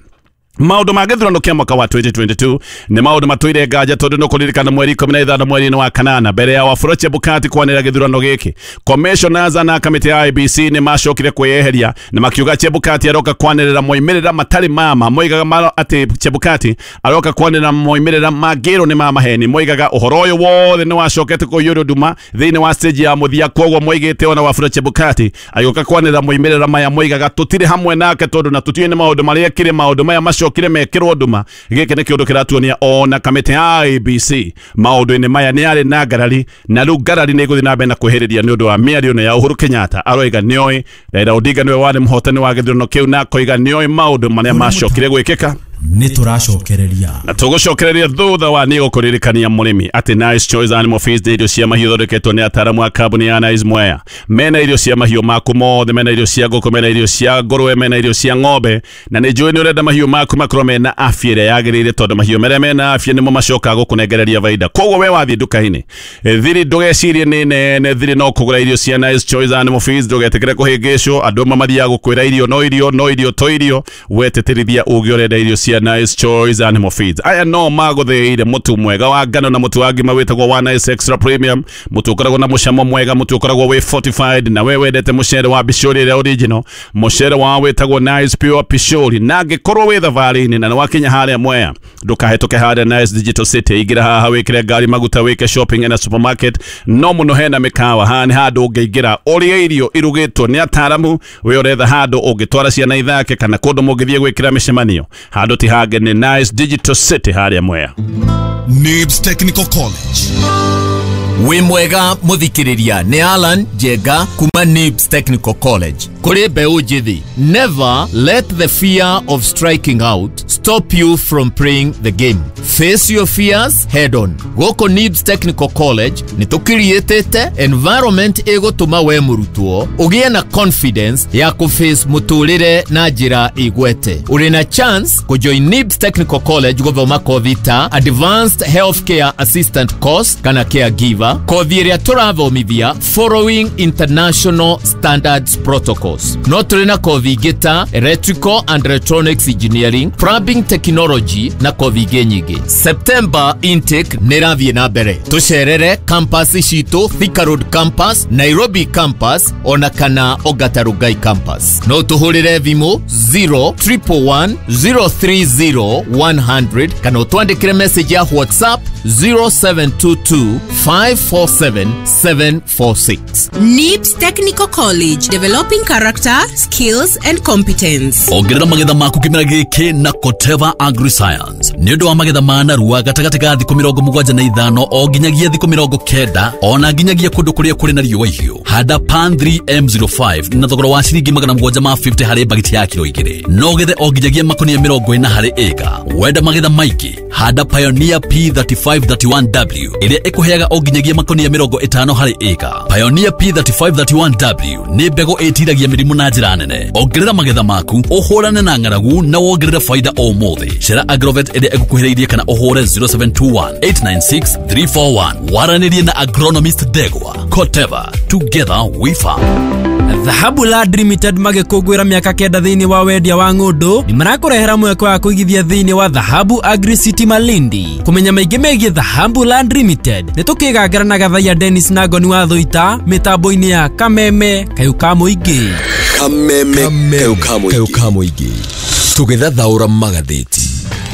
Maũndũ ma gĩthurano kĩa mwaka wa twenty twenty-two nĩ maũndũ matũire nganja tondũ nĩ kũririkana mweri ikũmi na ithano mweri-inĩ wa kanana mbere ya Wafula Chebukati kwanĩrĩra gĩthurano gĩkĩ, commissioners na kamĩtĩ ya I E B C nĩ macokire kwĩyeheria na makiuga Chebukati aroka kwanĩrĩra moimĩrĩra matarĩ mama. Moigaga maro atĩ Chebukati aroka kwanĩrĩra moimĩrĩra mangĩrwo nĩ ma maheni. Moigaga ũhoro ũyũ wothe nĩ wacokete kũiyũrio nduma thĩinĩ wa stage ya mũthia, kwoguo moigĩte ona Wafula Chebukati agĩũka kwanĩrĩra moimĩrĩra maya moigaga tũtirĩ hamwe nake tondũ na tũtiũĩ nĩ maũndũ marĩa ekire, maũndũ maya macoka kire mekirwo nduma. Gĩkĩ nĩ kĩũndũ kĩratuonia ona kamĩtĩ ya I E B C maũndũ-inĩ maya nĩ yarĩ na ngarari, na rĩu ngarari nĩ ĩgũthiĩ na mbere na kwĩhĩrĩria nĩ ũndũ wa mĩario ĩno ya Uhuru Kenyatta. Aroiga nĩoĩ Raila Odinga nĩwe warĩ mũhotani wa gĩthurano kĩu, na akoiga nĩoĩ maũndũ marĩa macokire gwĩkĩka. Nĩ tũracokereria na tũgũcokereria thutha wa nĩ gũkũririkania mũrĩmi atĩ Nice Choice Animal Feeds nĩ irio cia mahiũ ithondeketwo nĩ ataaramu a kambuni ya Nice Mwea. Mena irio cia mahiũ maku mothe, mena irio cia ngũkũ, mena irio cia ngũrwe, mena irio cia ng'ombe, na nĩ njũĩ nĩ ũrenda mahiũ maku makorwo mena afya ĩrĩa yagĩrĩire tondũ mahiũ marĩa mena afya nĩmo macokaga gũkũnengereria baida. Koguo we wathiĩ nduka-inĩ thiri ndũgecirie nĩ nene, thiri no kũgũra irio cia Nice Choice Animal Feeds, ndũgetĩkĩre kũhĩngĩcwo. Andũ amwe mathiaga gũkwĩra irio no irio no irio to irio, wetĩtĩrithia ũgĩ ũrenda irio cia Nice Choice Animal Feeds. Aya no magũthĩire mũtu mwega wa ngano na mũtu wa ngima wĩtagwo wa Nice Extra Premium, mũtu ũkoragwo na mũcamo mwega, mũtu ũkoragwo wĩ fortified, na we wendete mũcere wa bishori ĩrĩa original, mũcere wao wĩtagwo Nice Pure Pishori. Na angĩkorwo wĩ thabarĩ-inĩ na nĩwakinya harĩa Mwea, ndũkahĩtũke harĩa Nice Digital City, ingĩra haha wĩkĩre ngari maguta, wĩke shopping na supermarket, no mũno hena mĩkawa. Haha nĩ handũ ũngĩingĩra ũrĩe irio irugĩtwo nĩ ataaramu, we ũretha handũ ũngĩtwara ciana ithake kana kũndũ mũngĩthiĩ gwĩkĩra mĩcemanio. Handũ ti hangĩ nĩ Nice Digital City harĩa Mwea. Nibs Technical College. Wĩ mwega mũthikĩrĩria, nĩ Alan Njenga kuma Nibs Technical College. Kũrĩ mbeũ njĩthĩ, never let the fear of striking out stop you from playing the game. Face your fears head on. Gũkũ Nibs Technical College nĩ tũkiriĩtĩte environment ĩgũtũma we mũrutwo ũgĩe na confidence ya kũface mũtũrĩre na njĩra igwete. Ũrĩ na chance kũjoin Nibs Technical College gũthoma kothi ta Advanced Healthcare Assistant Course kana Caregiver, kothi ĩrĩa tũrathomithia following international standards protocols. No tũrĩ na kothi ingĩ ta Electrical and Electronics Engineering, Plumbing Technology na kothi ingĩ nyingĩ. September intake nĩ ĩrathiĩ na mbere. Tũcerere campus citũ, Thika Road campus, Nairobi campus ona kana Ongata Rongai campus. No tũhũrĩre thimũ zero triple one zero three zero one hundred kana ũtwandĩkĩre message ya WhatsApp zero seven two two five four seven seven four six. Nibs Technical College, developing character, skills and competence. Ongerera magetha maku kĩmera gĩkĩ na Koteva AgriScience. Nĩ ũndũ wa magetha ma narua gatagatĩ ka thikũ mĩrongo mũgwanja na ithano o nginyagia thikũ mĩrongo kenda ona nginyagia kũndũ kũrĩa kũrĩ na riũa ihiũ. Handa Pan three M zero five na thogora wa ciringi magana mũgwanja ma fifty harĩ bagiti ya kiro igĩrĩ. No ũgethe o nginyagia makonia mĩrongo ĩna harĩ ĩka. Wenda magetha maingĩ, handa Pioneer P thirty-five thirty-one W ĩrĩa ĩkũheaga o nginyagia makonia mĩrongo ĩtano harĩ ĩka. Pioneer P thirty-five thirty-one W nĩ mbegũ ĩtiragia mĩrimũ na njĩra nene. Ongerera magetha maku, ũhũrane na ng'aragu na wongerere faida o mũthĩ. Cera Agrovet ĩrĩa ĩgũkuhĩrĩirie kana ũhũre zero seven two one eight nine six three four one. Waranĩrie na agronomist Ndegwa. Koteva, together we farm. Dhahabu Land Limited magĩkũngũĩra mĩaka kenda thĩinĩ wa wendia wa ng'ũndũ nĩ marakũrehera mweke wa kũigithia thĩinĩ wa Dhahabu Agri City Malindi. Kũmenya maingĩ megiĩ Dhahabu Land Limited nĩ tũkĩgangara na Gathaiya Dennis na Ngoni wa Thũita mĩtambo-inĩ ya Kameme Kayũ ka Mũingĩ. Kameme Kayũ ka Mũingĩ. Tũgĩthathaũra magathĩti.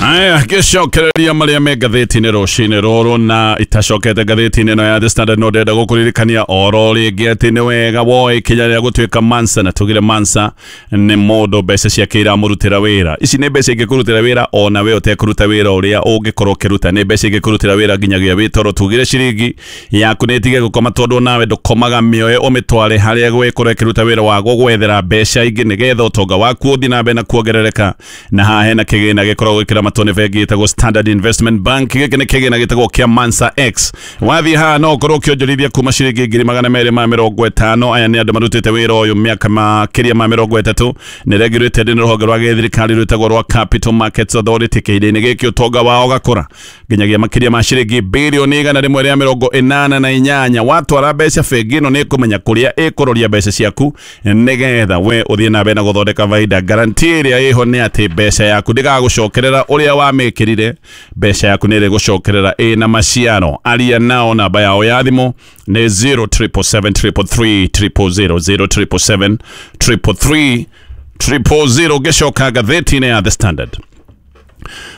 Aya, gĩcokereria marĩa me ngathĩti-inĩ rũcinĩ rũrũ na itacokete ngathĩti-inĩ ĩno ya The Standard no ndĩrenda gũkũririkania oro rĩngĩ atĩ nĩ wega woe ikinya rĩa gũtuĩka Mansa, na tugire Mansa nĩ mũndũ mbeca ciake iramũrutĩra wĩra. Ici nĩ mbeca ingĩkũrutĩra wĩra ona we ũtekũruta wĩra ũrĩa ũngĩkorwo ũkĩruta, nĩ mbeca ingĩkũrutĩra wĩra nginyagia wĩ toro. Tugire ciringi yaku nĩ ĩtige gũkoma tondũ nawe ndũkomaga, mĩoe ũmĩtware harĩa gwĩkorwo ĩkĩruta wĩra wa gũgwethera mbeca ingĩ nĩgetha ũtonga waku ũthiĩ na mbere na kuongerereka. Na haha hena kĩgĩna gĩkoragwo gĩkĩramatwo nĩ bengi ĩtagwo Standard Investment Bank. Gĩkĩ nĩ kĩgĩna gĩtagwo kĩa Mansa X. Wathiĩ haha no ũkorwo ũkĩonjorithia kuma ciringi ngiri magana merĩ ma mĩrongo ĩtano. Aya nĩ andũ marutĩte wĩra ũyũ mĩaka makĩria ma mĩrongo ĩtatũ. Nĩ regulated nĩ rũhonge rwa gĩthirikari rwĩtagwo rwa Capital Markets Authority. Kĩhinda-inĩ gĩkĩ ũtonga wao ũgakũra nginyagia makĩria ma ciringi birioni igana rĩmwe rĩa mĩrongo ĩnana na inyanya. Watwara mbeca bengi ĩno nĩ ĩkũmenya kũrĩa ĩkũroria mbeca ciaku nĩgetha we ũthiĩ na mbere na gũthondeka baida. Guarantee ĩrĩa ĩho nĩ atĩ mbeca yaku ndĩgagũcokerera ũrĩa wamĩkĩrire, mbeca yaku nĩ ĩrĩgũcokerera ĩna maciaro. Aria nao, namba yao ya thimũ nĩ zero triple seven triple three triple zero, zero triple seven triple three triple zero. Ngĩcoka ngathĩti-inĩ ya The Standard,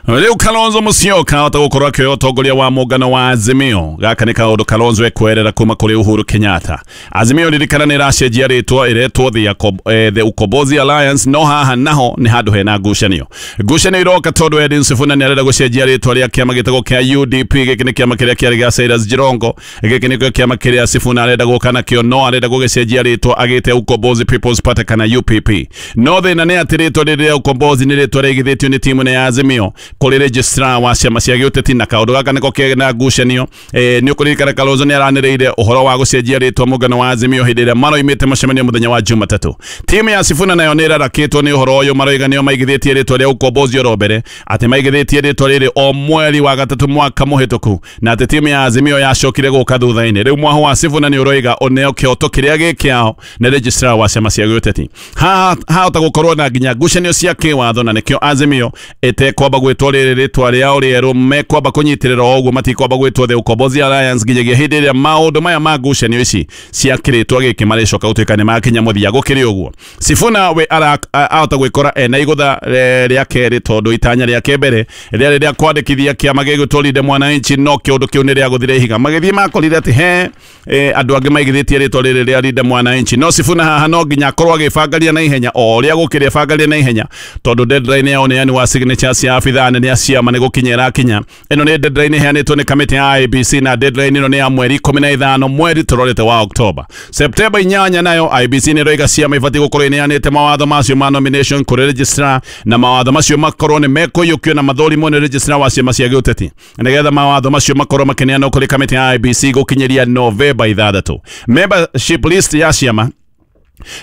rĩu Kalonzo Musyoka ahota gũkorwo akĩoya ũtongoria wa mũngano wa Azimio. Gaka nĩ kaũndũ Kalonzo ekwerera kuma kũrĩ Uhuru Kenyatta. Azimio ririkana nĩ ĩracenjia rĩtwa, ĩretwo the, eh, the Ukombozi Alliance, no haha naho nĩ handũ hena ngucanio. Ngucanio iroka tondũ Edwin Sifuna nĩ arenda gũcenjia rĩtwa rĩa kĩama gĩtagwo kĩa U D P. Gĩkĩ nĩ kĩama kĩrĩa kĩarĩ gĩa Cyrus Jirongo. Gĩkĩ nĩkĩo kĩama kĩrĩa Sifuna arenda gũka nakĩo, no arenda gũgĩcenjia rĩtwa agĩte Ukombozi People's Party kana U P P. No thĩna nĩ atĩ rĩtwa rĩrĩ rĩa Ukombozi nĩ rĩtwa rĩigithĩtio nĩ timu ya Azimio kũrĩ registrar wa ciama cia gĩũteti, na kaũndũ gaka nĩko kena ngucanio. Eh, nĩ ũkũririkana Kalonzo nĩ aranĩrĩire ũhoro wa gũcenjia rĩtwa mũngano wa Azimio hĩndĩ ĩrĩa maroimĩte mũcemanio mũthenya wa Jumatatũ. Timu ya Sifuna nayo nĩ ĩrarakĩtwo nĩ ũhoro ũyũ, maroiga nĩo maigithĩtie rĩtwa rĩa Ukombozi oro mbere, atĩ maigithĩtie rĩtwa rĩrĩ o mweri wa gatatũ mwaka mũhĩtũku, na atĩ timu ya Azimio yacokire gũka thutha-inĩ. Rĩu mwaho wa Sifuna nĩ ũroiga ũneo kĩhoto kĩrĩa gĩ kĩao nĩ registrar wa ciama cia gĩũteti. Haha hahota gũkorwo na nginya ngucanio cia kĩwatho, na nĩkĩo Azimio ĩtekwamba gwĩtwo rĩrĩ rĩtwa rĩao rĩerũ, mekwamba kũnyitĩrĩra o ũguo, matikwamba gwĩtwo the Ukombozi Alliance nginyagia hĩndĩ ĩrĩa maũndũ maya ma ngucanio ici cia kĩrĩtwa gĩkĩ marĩcoka gũtuĩka nĩ makinya mũthia. Gũkĩrĩ ũguo, Sifuna we ahota gwĩkora ena igũtha rĩa kerĩ, tondũ itanya rĩake mbere rĩarĩ rĩa kwandĩkithia kĩama gĩgwĩtwo Linda Mwananchi, no kĩũndũ kĩu nĩ rĩagũthire ihiga. Magĩthiĩ makorire atĩ he andũ angĩ maigithĩtie rĩtwa rĩrĩ rĩa Linda Mwananchi, no Sifuna haha no nginya akorwo agĩbangaria na ihenya o ũrĩa gũkĩrĩ abangaria na ihenya, tondũ deadline yao nĩ wa signatures cia abithaa nene a ciama nĩ gũkinya ĩrakinya. Ĩno nĩ deadline ĩheanĩtwo nĩ kamĩtĩ ya I B C, na deadline ĩno nĩ ya mweri ikũmi na ithano mweri tũrorete wa Oktoba. Septemba inyanya nayo I B C nĩ ĩroiga ciama ibatiĩ gũkorwo ineanĩte mawatho macio ma nomination kũrĩ registrar, na mawatho macio makorwo nĩ mekũiyũkio na mathũrimwo nĩ registrar wa ciama cia gĩũteti, nĩgetha mawatho macio makorwo makĩneanwo kũrĩ kamĩtĩ ya I B C gũkinyĩria Novemba ithathatũ. Membership list ya ciama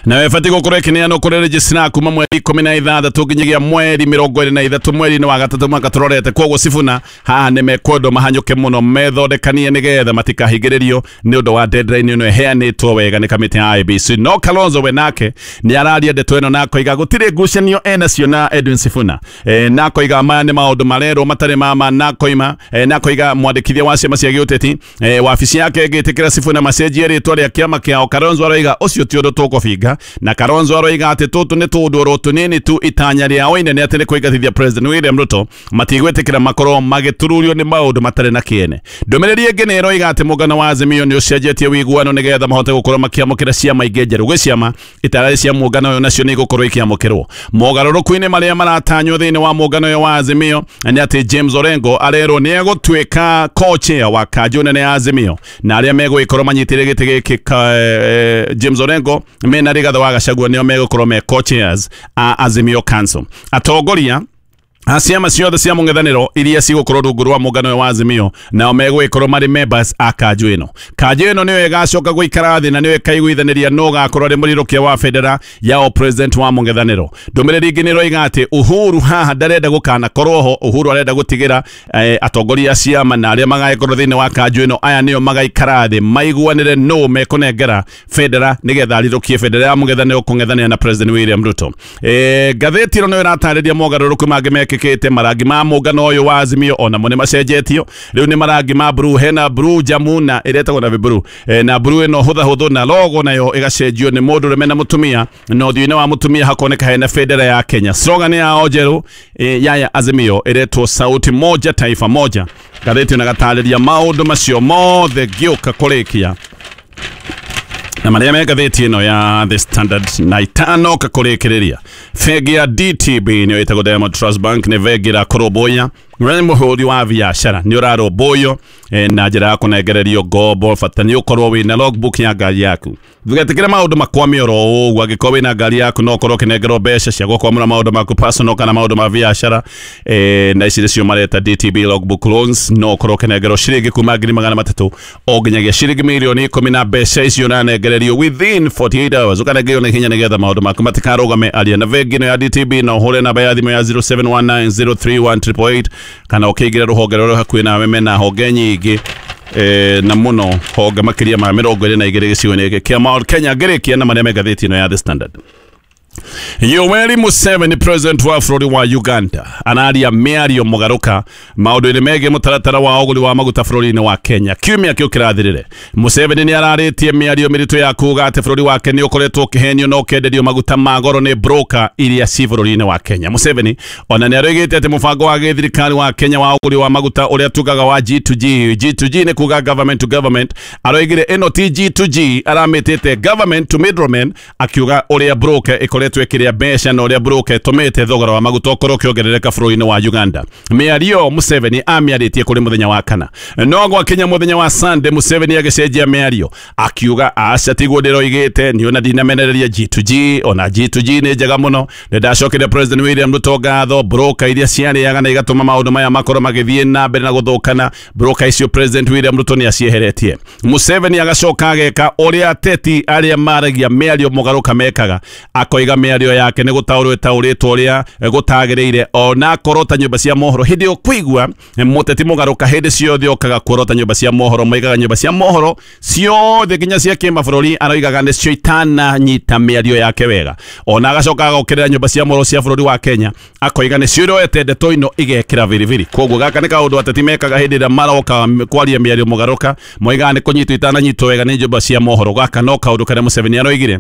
na ĩbatiĩ gũkorwo ĩkĩneanwo kũrĩ registrar kuma mweri ikũmi na ithathatũ nginyagia mweri mĩrongo ĩrĩ na ithatũ mweri-inĩ wa gatatũ mwaka tũrorete. Koguo Sifuna haha nĩ mekwendwo mahanyũke mũno, methondekanie nĩgetha matikahingĩrĩrio nĩ ũndũ wa deadline ĩno ĩheanĩtwo wega nĩ kamĩtĩ ya I B C. No Kalonzo we nake nĩ araria ndeto ĩno na akoiga gũtirĩ ngucanio enacio na Edwin Sifuna, e, na akoiga maya nĩ maũndũ marerwo matarĩ mama, na akoima e, na akoiga mwandĩkithia wa ciama cia gĩũteti e, wabici yake ĩngĩtĩkĩra Sifuna macenjie rĩtwa rĩa kĩama kĩao. Kalonzo aroiga ũcio ti ũndũ tũkũbinga, na Kalonzo aroiga atĩ tũtũ nĩ tũũndũ oro tũnini tu, itanya rĩao inene atĩ nĩ kũingatithia President William Ruto, matigwĩtĩkĩra makorwo magĩtururio nĩ maũndũ matarĩ na kĩene. Ndũmĩrĩri ĩngĩ nĩ ĩroiga atĩ mũngano wa Azimio nĩ ũcenjetie ũiguano nĩgetha mahote gũkorwo makĩamũkĩra ciama ingĩ njerũ. Gwĩ ciama itararĩ cia mũngano ũyũ nacio nĩ igũkorwo ikĩamũkĩrwo. Mogarũrũku-inĩ marĩa maratanywo thĩinĩ wa mũngano ũyũ wa Azimio nĩ atĩ James Orengo arerwo nĩ egũtuĩka co-chair wa kanjũ nene ya Azimio, na arĩa megũgĩkorwo manyitĩrĩire gĩtĩ gĩkĩ eh, James Orengo mena Rigathi wa Gachagua nĩo megũkorwo me co-chairs a Azimio Council. Atongoria ciama ciothe cia mũng'ethanĩro iria cigũkorwo rungu rwa mũngano wa Azimio nao megũgĩkorwo marĩ members a kanjũ ĩno. Kanjũ ĩno nĩyo ĩgacoka gũikara thĩ na nĩyo ĩkaiguithanĩria nũ ũgakorwo arĩ mũrirũkia wa bendera ya president wa mũng'ethanĩro. Ndũmĩrĩri ĩngĩ nĩ ĩroiga atĩ Uhuru haha ndarenda gũkanakorwo ho, Uhuru arenda gũtigĩra eh, atongoria a ciama na arĩa magagĩkorwo thĩinĩ wa kanjũ ĩno aya nĩo magaikara thĩ maiguanĩre nũ mekũnengera bendera nĩgetha arirũkie bendera ya mũng'ethanĩro kũng'ethanĩra na President William Ruto. Eh, ngathĩti ĩno nĩyo ĩratarĩria mogarũrũku mangĩ mekĩkĩte gĩtuĩkĩte marangi ma mũngano ũyũ wa Azimio ona mo nĩ macenjetio rĩu nĩ marangi ma blue, hena blue jamu na ĩretagwo na blue e, na blue ĩno hũtha hũthũ na logo nayo ĩgacenjio nĩ mũndũ ũrũme na mũtumia na ũthiũ-inĩ wa mũtumia hakoneka hena bendera ya Kenya. Slogan yao njerũ e, ya ya Azimio ĩretwo sauti moja taifa moja. Ngathĩti na gatarĩria maũndũ macio mothe ngĩũka kũrĩkia na marĩa me ngathĩti ĩno ya The Standard na itano kakũrĩkĩrĩria. Bengi ya D T B nĩyo ĩtagwo Diamond Trust Bank nĩ bengi ĩrakũrũmbũiya we mũhũri wa biacara nĩ ũrarũmbũiyo na njĩra ya kũnengererio ngombo, bata nĩ ũkorwo wĩna logbook ya ngari yaku. Ndũgetĩkĩre maũndũ makwame oro ũguo, angĩkorwo wĩna ngari yaku no ũkorwo ũkĩnengerwo mbeca cia gũkwamũra maũndũ maku personal kana maũndũ ma biacara eh, na ici nĩcio mareta D T B logbook loans, no ũkorwo ũkĩnengerwo ciringi kuma ngiri magana matatũ o nginyagia ciringi mirioni ikũmi na mbeca icio ũranengererio within forty-eight hours, ũkanengererio na ihenya nĩgetha maũndũ maku matikarũgame. Aria na bengi ĩno ya D T B na ũhũre namba ya thimũ ya zero seven one nine zero three one triple eight kana ũkĩingĩra rũhonge rũrĩa hakuhĩ nawe mena honge nyingĩ eh, na mũno honge makĩria ma mĩrongo ĩrĩ na igĩrĩ gĩcigo-inĩ gĩkĩ kĩa Mount Kenya. Ngĩrĩkia na marĩa me ngathĩti ĩno ya The Standard. Yoweri Museveni president wa bũrũri wa Uganda araria mĩario mũgarũka maũndũ-inĩ megiĩ mũtaratara wa ũgũri wa maguta bũrũri-inĩ wa Kenya. Kiumia kĩu kĩrathirire Museveni nĩ ararĩtie mĩario mĩritũ ya kuga atĩ bũrũri wake nĩ ũkoretwo ũkĩhenio na ũkenderio maguta ma goro nĩ broker iria ci bũrũri-inĩ wa Kenya. Museveni ona nĩ aroigĩte atĩ mũbango wa gĩthirikari wa Kenya wa ũgũri wa maguta ũrĩa tugaga wa G to G, G to G nĩ kuga government to government, aroigire ĩno ti G to G, aramĩtĩte government to middlemen, akiuga ũrĩa broker ĩkoretwo ĩkĩrĩa mbeca na ũrĩa broker ĩtũmĩte thogora wa maguta ũkorwo ũkĩongerereka bũrũri-inĩ wa Uganda. Mĩario Museveni amĩarĩtie kũrĩ mũthenya wa kana, no gwakinya mũthenya wa Sunday Museveni agĩcenjia mĩario akiuga aca tiguo ndĩroigĩte, niĩ ona ndinamenereria G to G, ona G to G nĩ njega mũno, nĩndacokeria President William Ruto ngatho, broker iria ciarĩaga na igatũma maũndũ maya makorwo magĩthiĩ na mbere na gũthũkana, broker icio President William Ruto nĩ acieheretie. Museveni agacoka ageka ũrĩa ateti arĩa maragia mĩario mũgarũka mekaga, akoiga mĩario yake nĩ gũtaũrwo ĩtaũrĩtwo ũrĩa gũtagĩrĩire, ona akorwo ta nyũmba cia mohoro hĩndĩ ĩyo kũigua mũteti mũgarũka hĩndĩ ciothe okaga kuorota nyũmba cia mohoro, moigaga nyũmba cia mohoro ciothe nginya cia kĩmabũrũri aroigaga nĩcio itananyita mĩario yake wega, ona agacoka agokĩrĩra nyũmba cia mohoro cia bũrũri wa Kenya akoiga nĩcio iroete ndeto ino igekĩra biribiri. Koguo gaka nĩ kaũndũ ateti mekaga hĩndĩ ĩrĩa maroka kwaria mĩario mũgarũka, moigaga nĩ kũnyitwo itananyitwo wega nĩ nyũmba cia mohoro. Gaka no kaũndũ karĩa Museveni aroigire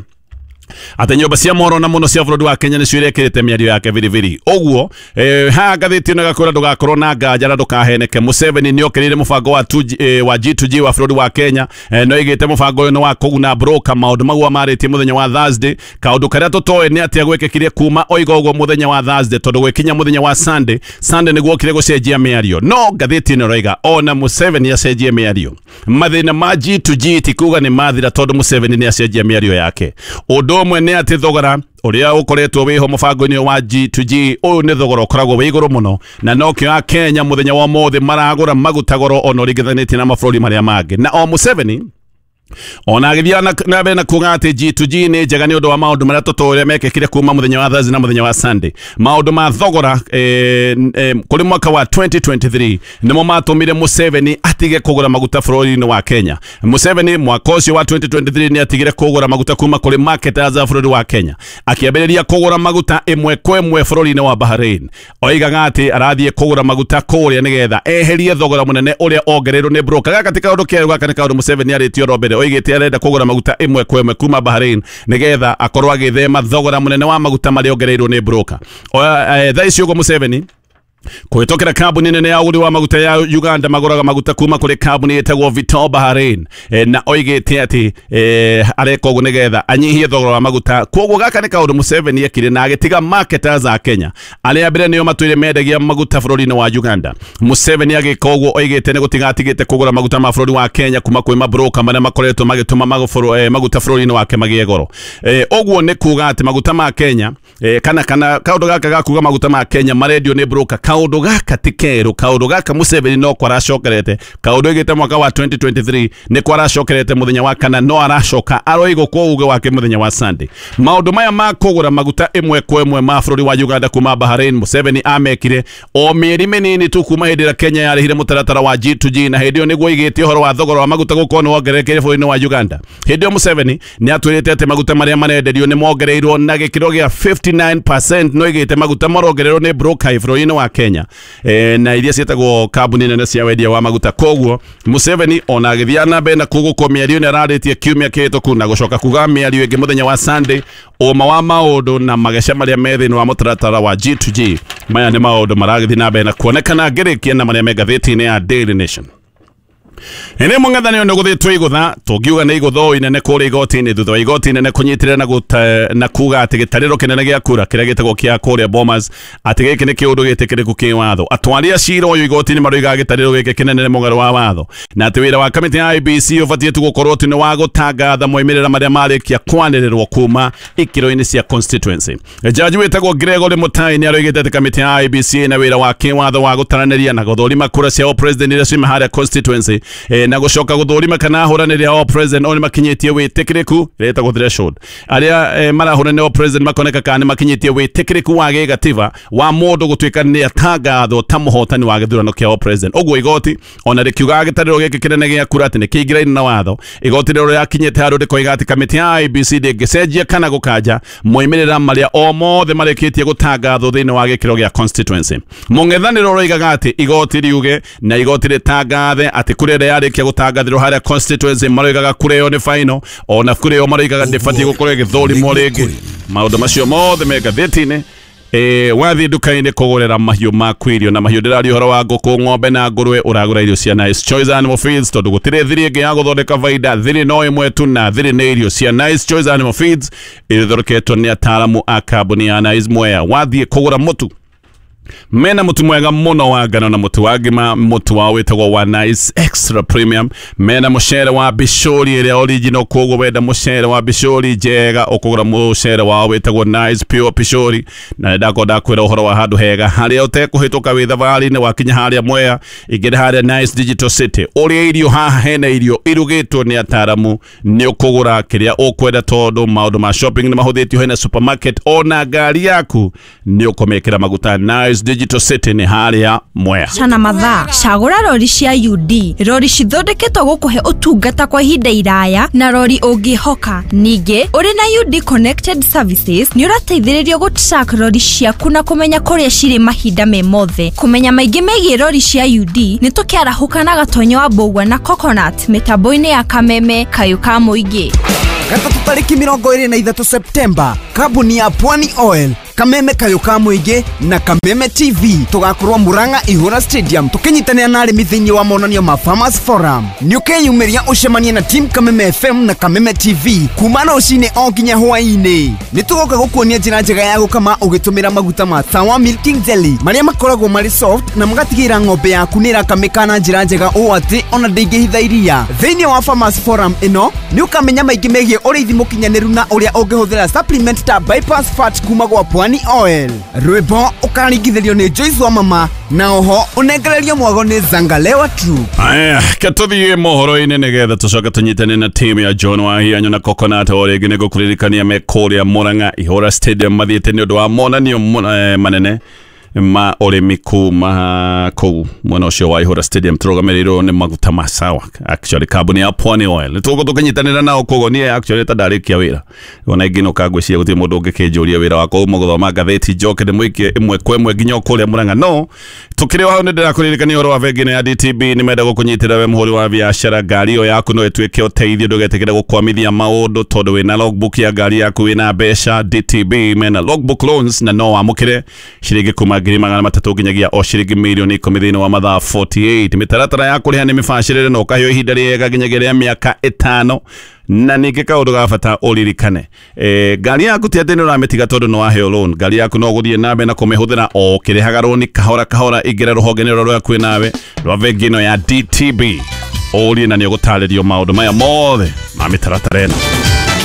atĩ nyũmba cia mohoro na mũno cia bũrũri wa Kenya nĩcio irekĩrĩte mĩario yake biribiri. Ũguo eh, haha ngathĩti ĩno ĩgakwĩra ndũgakorwo na nganja na ndũkaheneke. Museveni nĩokĩrĩire mũbango wa two G, eh, wa G to G wa bũrũri wa Kenya eh, no ĩgĩte mũbango ũyũ nĩ wa kũguna broker maũndũ mau amarĩtie mũthenya wa Thursday. Kaũndũ karĩa tũtoĩ nĩ atĩa gwĩkĩkire kuma oiga ũguo mũthenya wa Thursday, tondũ gwĩkinya mũthenya wa Sunday, Sunday nĩguo okire gũcenjia mĩario, no ngathĩti ĩno ĩroiga ona Museveni acenjie mĩario, mathĩna ma G to G ti kuga nĩ mathira tondũ Museveni nĩ acenjia mĩario yake. Ũndũ ũmwe nĩ atĩ thogora ũrĩa ũkoretwo wĩho mũbango-inĩ wa G to G ũyũ nĩ thogora ũkoragwo wĩ igũrũ mũno, na nokĩo Akenya mũthenya wa ũmũthĩ maragũra maguta goro ona ũringithanĩtie na mabũrũri marĩa mangĩ. Na o Museveni ona agĩthiĩ na mbere na kuga atĩ G to G nĩ njega nĩ ũndũ wa maũndũ marĩa tũtũũrĩa mekĩkire kuma mũthenya wa Thursday na mũthenya wa Sunday. Maũndũ ma thogora eh, eh, kũrĩ mwaka wa twenty twenty-three nĩmo matũmire Museveni atige kũgũra maguta bũrũri-inĩ wa Kenya. Museveni mwaka ũcio wa twenty twenty-three nĩ atigire kũgũra maguta kuma kũrĩ marketers a bũrũri wa Kenya, akĩambĩrĩria kũgũra maguta ĩmwe kwa ĩmwe bũrũri-inĩ wa Bahrain. Oigaga atĩ arathiĩ kũgũra maguta kũrĩa nĩgetha eherie thogora mũnene ũrĩa ongereirwo nĩ broker. Gaka ti kaũndũ kerũ, gaka nĩ kaũndũ Museveni arĩtie oro mbere, oigĩte arenda kũgũra maguta ĩmwe kwa ĩmwe kuma Bahrain nĩgetha akorwo agĩthema thogora mũnene wa maguta marĩa ongereirwo nĩ broker. Thaa ici ũguo Museveni kũhĩtũkĩra kambuni nene ya ũgũri wa maguta ya Uganda magũraga maguta kuma kũrĩ kambuni ĩtagwo Vitol Bahrain e, na oigĩte atĩ e, areka ũguo nĩgetha anyihie thogora wa maguta. Koguo gaka nĩ kaũndũ Museveni ekire na agĩtiga marketers a Kenya arĩa mbere nĩo matũire mendagia maguta bũrũri-inĩ wa Uganda. Museveni agĩka ũguo oigĩte nĩ gũtiga atigĩte kũgũra maguta ma bũrũri wa Kenya kuma kwĩ mabroka marĩa makoretwo magĩtũma eh, maguta bũrũri-inĩ wake magĩe goro. E, ũguo nĩ kuga atĩ maguta ma Kenya e, kana kana kaũndũ gaka ga kuga maguta ma Kenya marendio nĩ broker kaundu gaka ti keru, kaundu gaka Museveni no kwaracokerete, kaundu igite mwaka wa twenty twenty-three ni kwaracokerete muthenya wa kana no aracoka aroigwo kwa uge wake muthenya wa Sunday. Maundu maya ma kugura maguta imwe kwa imwe ma bururi wa Uganda kuma Bahrain Museveni amekire o mieri minini tu kuma hindi ĩrĩa Kenya yarĩhire mũtaratara wa G to G, na hindi ĩyo nĩguo igĩtie ũhoro wa thogora wa maguta gũkorwo nĩ wongererekire bũrũri-inĩ wa Uganda. Hindi ĩyo Museveni nĩ atwĩrĩte atĩ maguta marĩa marenderio nĩ mongereirwo na gĩkĩro gĩa fifty-nine percent, no igĩte maguta marongererwo nĩ broker bũrũri-inĩ wa Kenya e, na iria ciĩtagwo kambuni nene cia wendia wa maguta. Koguo Museveni ona agĩthiĩ na mbere na kũgũkwo mĩario nĩ ararĩtie kiumia kĩhĩtũku na gũcoka kuga mĩario ĩngĩ mũthenya wa Sunday ũma wa maũndũ na mageca marĩa me thĩinĩ wa mũtaratara wa G to G. Maya nĩ maũndũ maragĩthiĩ na mbere na kuonekana ngĩrĩkia na marĩa me ngathĩti-inĩ ya Daily Nation. Ene mũng'ethanĩro nĩ gũthĩtwo igũtha, tũngiuga nĩ igũtha inene kũrĩa igoti-inĩ thutha wa igoti inene kũnyitĩrĩra na gũte, na kuga atĩ gĩtarĩro kĩnene gĩa kura kĩrĩa gĩtagwo kĩa kũrĩa Bomas atĩ gĩkĩ nĩ kĩũndũ gĩtĩkĩrĩku kĩwatho. Atwari a cira ũyũ igoti-inĩ maroigaga gĩtarĩro gĩkĩ kĩnene nĩ mũgarũ wa watho, na atĩ wĩra wa kamĩtĩ ya I B C ũbatiĩ tu gũkorwo atĩ nĩ wa gũtangatha moimĩrĩra marĩa marĩkia kwanĩrĩrwo kuma ikĩro-inĩ cia constituency. Jaji wĩtagwo Gregory Mutai nĩ aroigĩte atĩ kamĩtĩ ya I B C ĩna wĩra wa kĩwatho wa gũtaranĩria na gũthũrima kura cia president iria ciuma harĩa constituency e, na gũcoka gũthũrima kana ahũranĩri ao president o nĩ makinyĩtie wĩtĩkĩrĩku ĩretagwo threshold. Arĩa e, marahũranĩra o president makoneka kana nĩ makinyĩtie wĩtĩkĩrĩku wa gĩgatiba wa mũndũ gũtuĩka nĩ atangathwo ta mũhotani wa gĩthurano kĩa o president. Ũguo igoti ona rĩkiugaga gĩtarĩro gĩkĩ kĩnene gĩa kura atĩ nĩ kĩingĩraine na watho, igoti rĩrĩa rĩakinyĩte handũ rĩkoiga atĩ kamĩtĩ ya I B C ndĩngĩcenjia kana gũkanja moimĩrĩra marĩa o mothe marĩkĩtie gũtangathwo thĩinĩ wa gĩkĩro gĩa constituency. Mũng'ethanĩro ũroigaga atĩ igoti riuge na igoti rĩtangathe atĩ kura ĩrĩa yarĩkia gũtangathĩrwo harĩa constituency maroigaga kura ĩyo nĩ final, ona kura ĩyo maroigaga ndĩbatiĩ gũkorwo ĩgĩthũrimwo rĩngĩ. Maũndũ macio mothe me ngathĩti-inĩ. E, wathiĩ nduka-inĩ kũgũrĩra mahiũ maku irio, na mahiũ ndĩraria ũhoro wa ngũkũ, ng'ombe na ngũrwe, ũragũra irio cia Nice Choice Animal Feeds tondũ gũtirĩ thiri ĩngĩ ya gũthondeka baida, thiri no ĩmwe tu na thiri nĩ irio cia Nice Choice Animal Feeds ithondeketwo nĩ ataaramu a kambuni ya Nice Mwea. Wathiĩ kũgũra mũtu, mena mũtu mwega mũno wa ngano na mũtu wa ngima, mũtu wao wĩtagwo wa Nice Extra Premium. Mena mũcere wa bicũri ĩrĩa original, koguo wenda mũcere wa bicũri njega ũkũgũra mũcere wao wĩtagwo Nice Pure Bicũri. Na nĩndakorwo ndakwĩra ũhoro wa handũ hega harĩa ũtekũhĩtũka wĩ thabarĩ-inĩ, wakinya harĩa Mwea ingĩra harĩa Nice Digital City ũrĩa irio haha hena irio irugĩtwo nĩ ataaramu, nĩ ũkũgũra kĩrĩa ũkwenda tondũ maũndũ ma shopping nĩ mahũthĩtio, hena supermarket ona ngari yaku nĩ ũkũmĩkĩra maguta. Nice Digital City nĩ harĩa Mwea. Cana mathaa cagũra rori cia U D, rori cithondeketwo gũkũhe ũtungata kwa ihinda iraya na rori ũngĩhoka. Ningĩ ũrĩ na U D Connected Services nĩ ũrateithĩrĩrio gũ-track rori ciaku na kũmenya kũrĩa cirĩ mahinda me mothe. Kũmenya maingĩ megiĩ rori cia U D nĩ tũkĩarahũka na Gatonyo wa Mbũgua na Coconut mĩtambo-inĩ ya Kameme kayũ ka mũingĩ. Gatatũ tarĩki mĩrongo ĩrĩ na ithatũ Septemba, kambuni ya Pwani Oil, Kameme kayũ ka mũingĩ na Kameme T V tũgakorwo Murang'a Ihũra Stadium tũkĩnyitanĩra na arĩmi thĩinĩ wa monanio ma Farmers Forum. Nĩ ũkeyumĩria ũcemanie na team Kameme F M na Kameme T V kuma rũcinĩ o nginya hwaĩ-inĩ. Nĩ tũgoka gũkuonia njĩra njega ya gũkama ũgĩtũmĩra maguta ma Sawa Milking Jelly marĩa makoragwo marĩ soft na magatigĩrĩra ng'ombe yaku nĩ ĩrakamĩka na njĩra njega ũũ atĩ ona ndĩngĩhitha iria. Thĩinĩ wa Farmers Forum ĩno nĩ ũkamenya maingĩ megiĩ ũrĩithi mũkinyanĩru na ũrĩa ũngĩhũthĩra supplement ta bypass fat kuma gwa Pwani Oil. Rwĩmbo ũkaringithĩrio nĩ Joyce wa mama na oho ũnengererio mwago nĩ Zangalewa Troop. Aya, ketũthiĩ mohoro-inĩ nĩgetha tũcoke tũnyitane na timu ya John Wahianyo na Coconut. O rĩngĩ nĩ ngũkũririkania me kũrĩa Murang'a Ihũra Stadium mathiĩte nĩ ũndũ wa monanio manene ma ũrĩmi kuma kũu mwena ũcio wa Ihũra Stadium tũrũgamĩrĩirwo nĩ maguta ma Sawa, actually kambuni ya Pwani Oil. Nĩ tũgũkorwo tũkĩnyitanĩra nao koguo niĩ actually ta ndarĩkia wĩra ona ingĩinũka ngwĩciria gũtirĩ mũndũ ũngĩkĩnjũria wĩra wakwa uma gũthoma ngathĩti njoke ndĩmũikie ĩmwe kwa ĩmwe nginya o kũrĩa Murang'a. No tũkĩrĩ o hau nĩ ndĩrakũririkania ũhoro wa bengi ĩno ya D T B, nĩ menda gũkũnyitĩra we mũhũri wa biacara, ngari ĩyo yaku no ĩtuĩke ũteithio, ndũgetĩkĩre gũkwamithia maũndũ tondũ wĩna logbook ya ngari yaku wĩna mbeca. D T B mena logbook loans na no wamũkĩre ciringi kuma ngiri magana matatũ nginyagia o ciringi mirioni ikũmi thĩinĩ wa mathaa forty-eight. Mĩtaratara ya kũrĩha nĩ mĩbacĩrĩre na ũkaheo ihinda rĩega nginyagia rĩa mĩaka ĩtano. Na ningĩ kaũndũ ga bata ũririkane, e, ngari yaku ti atĩ nĩ ũramĩtiga tondũ nĩ waheo loan, ngari yaku no ũgũthiĩ na mbere na kũmĩhũthĩra o ũkĩrĩhaga rũni kahora kahora. Ingĩra rũhonge-inĩ rũrĩa rwĩ nawe rwa bengi ĩno ya D T B ũrie na nĩ ũgũtarĩrio maũndũ maya mothe ma mĩtaratara ĩno.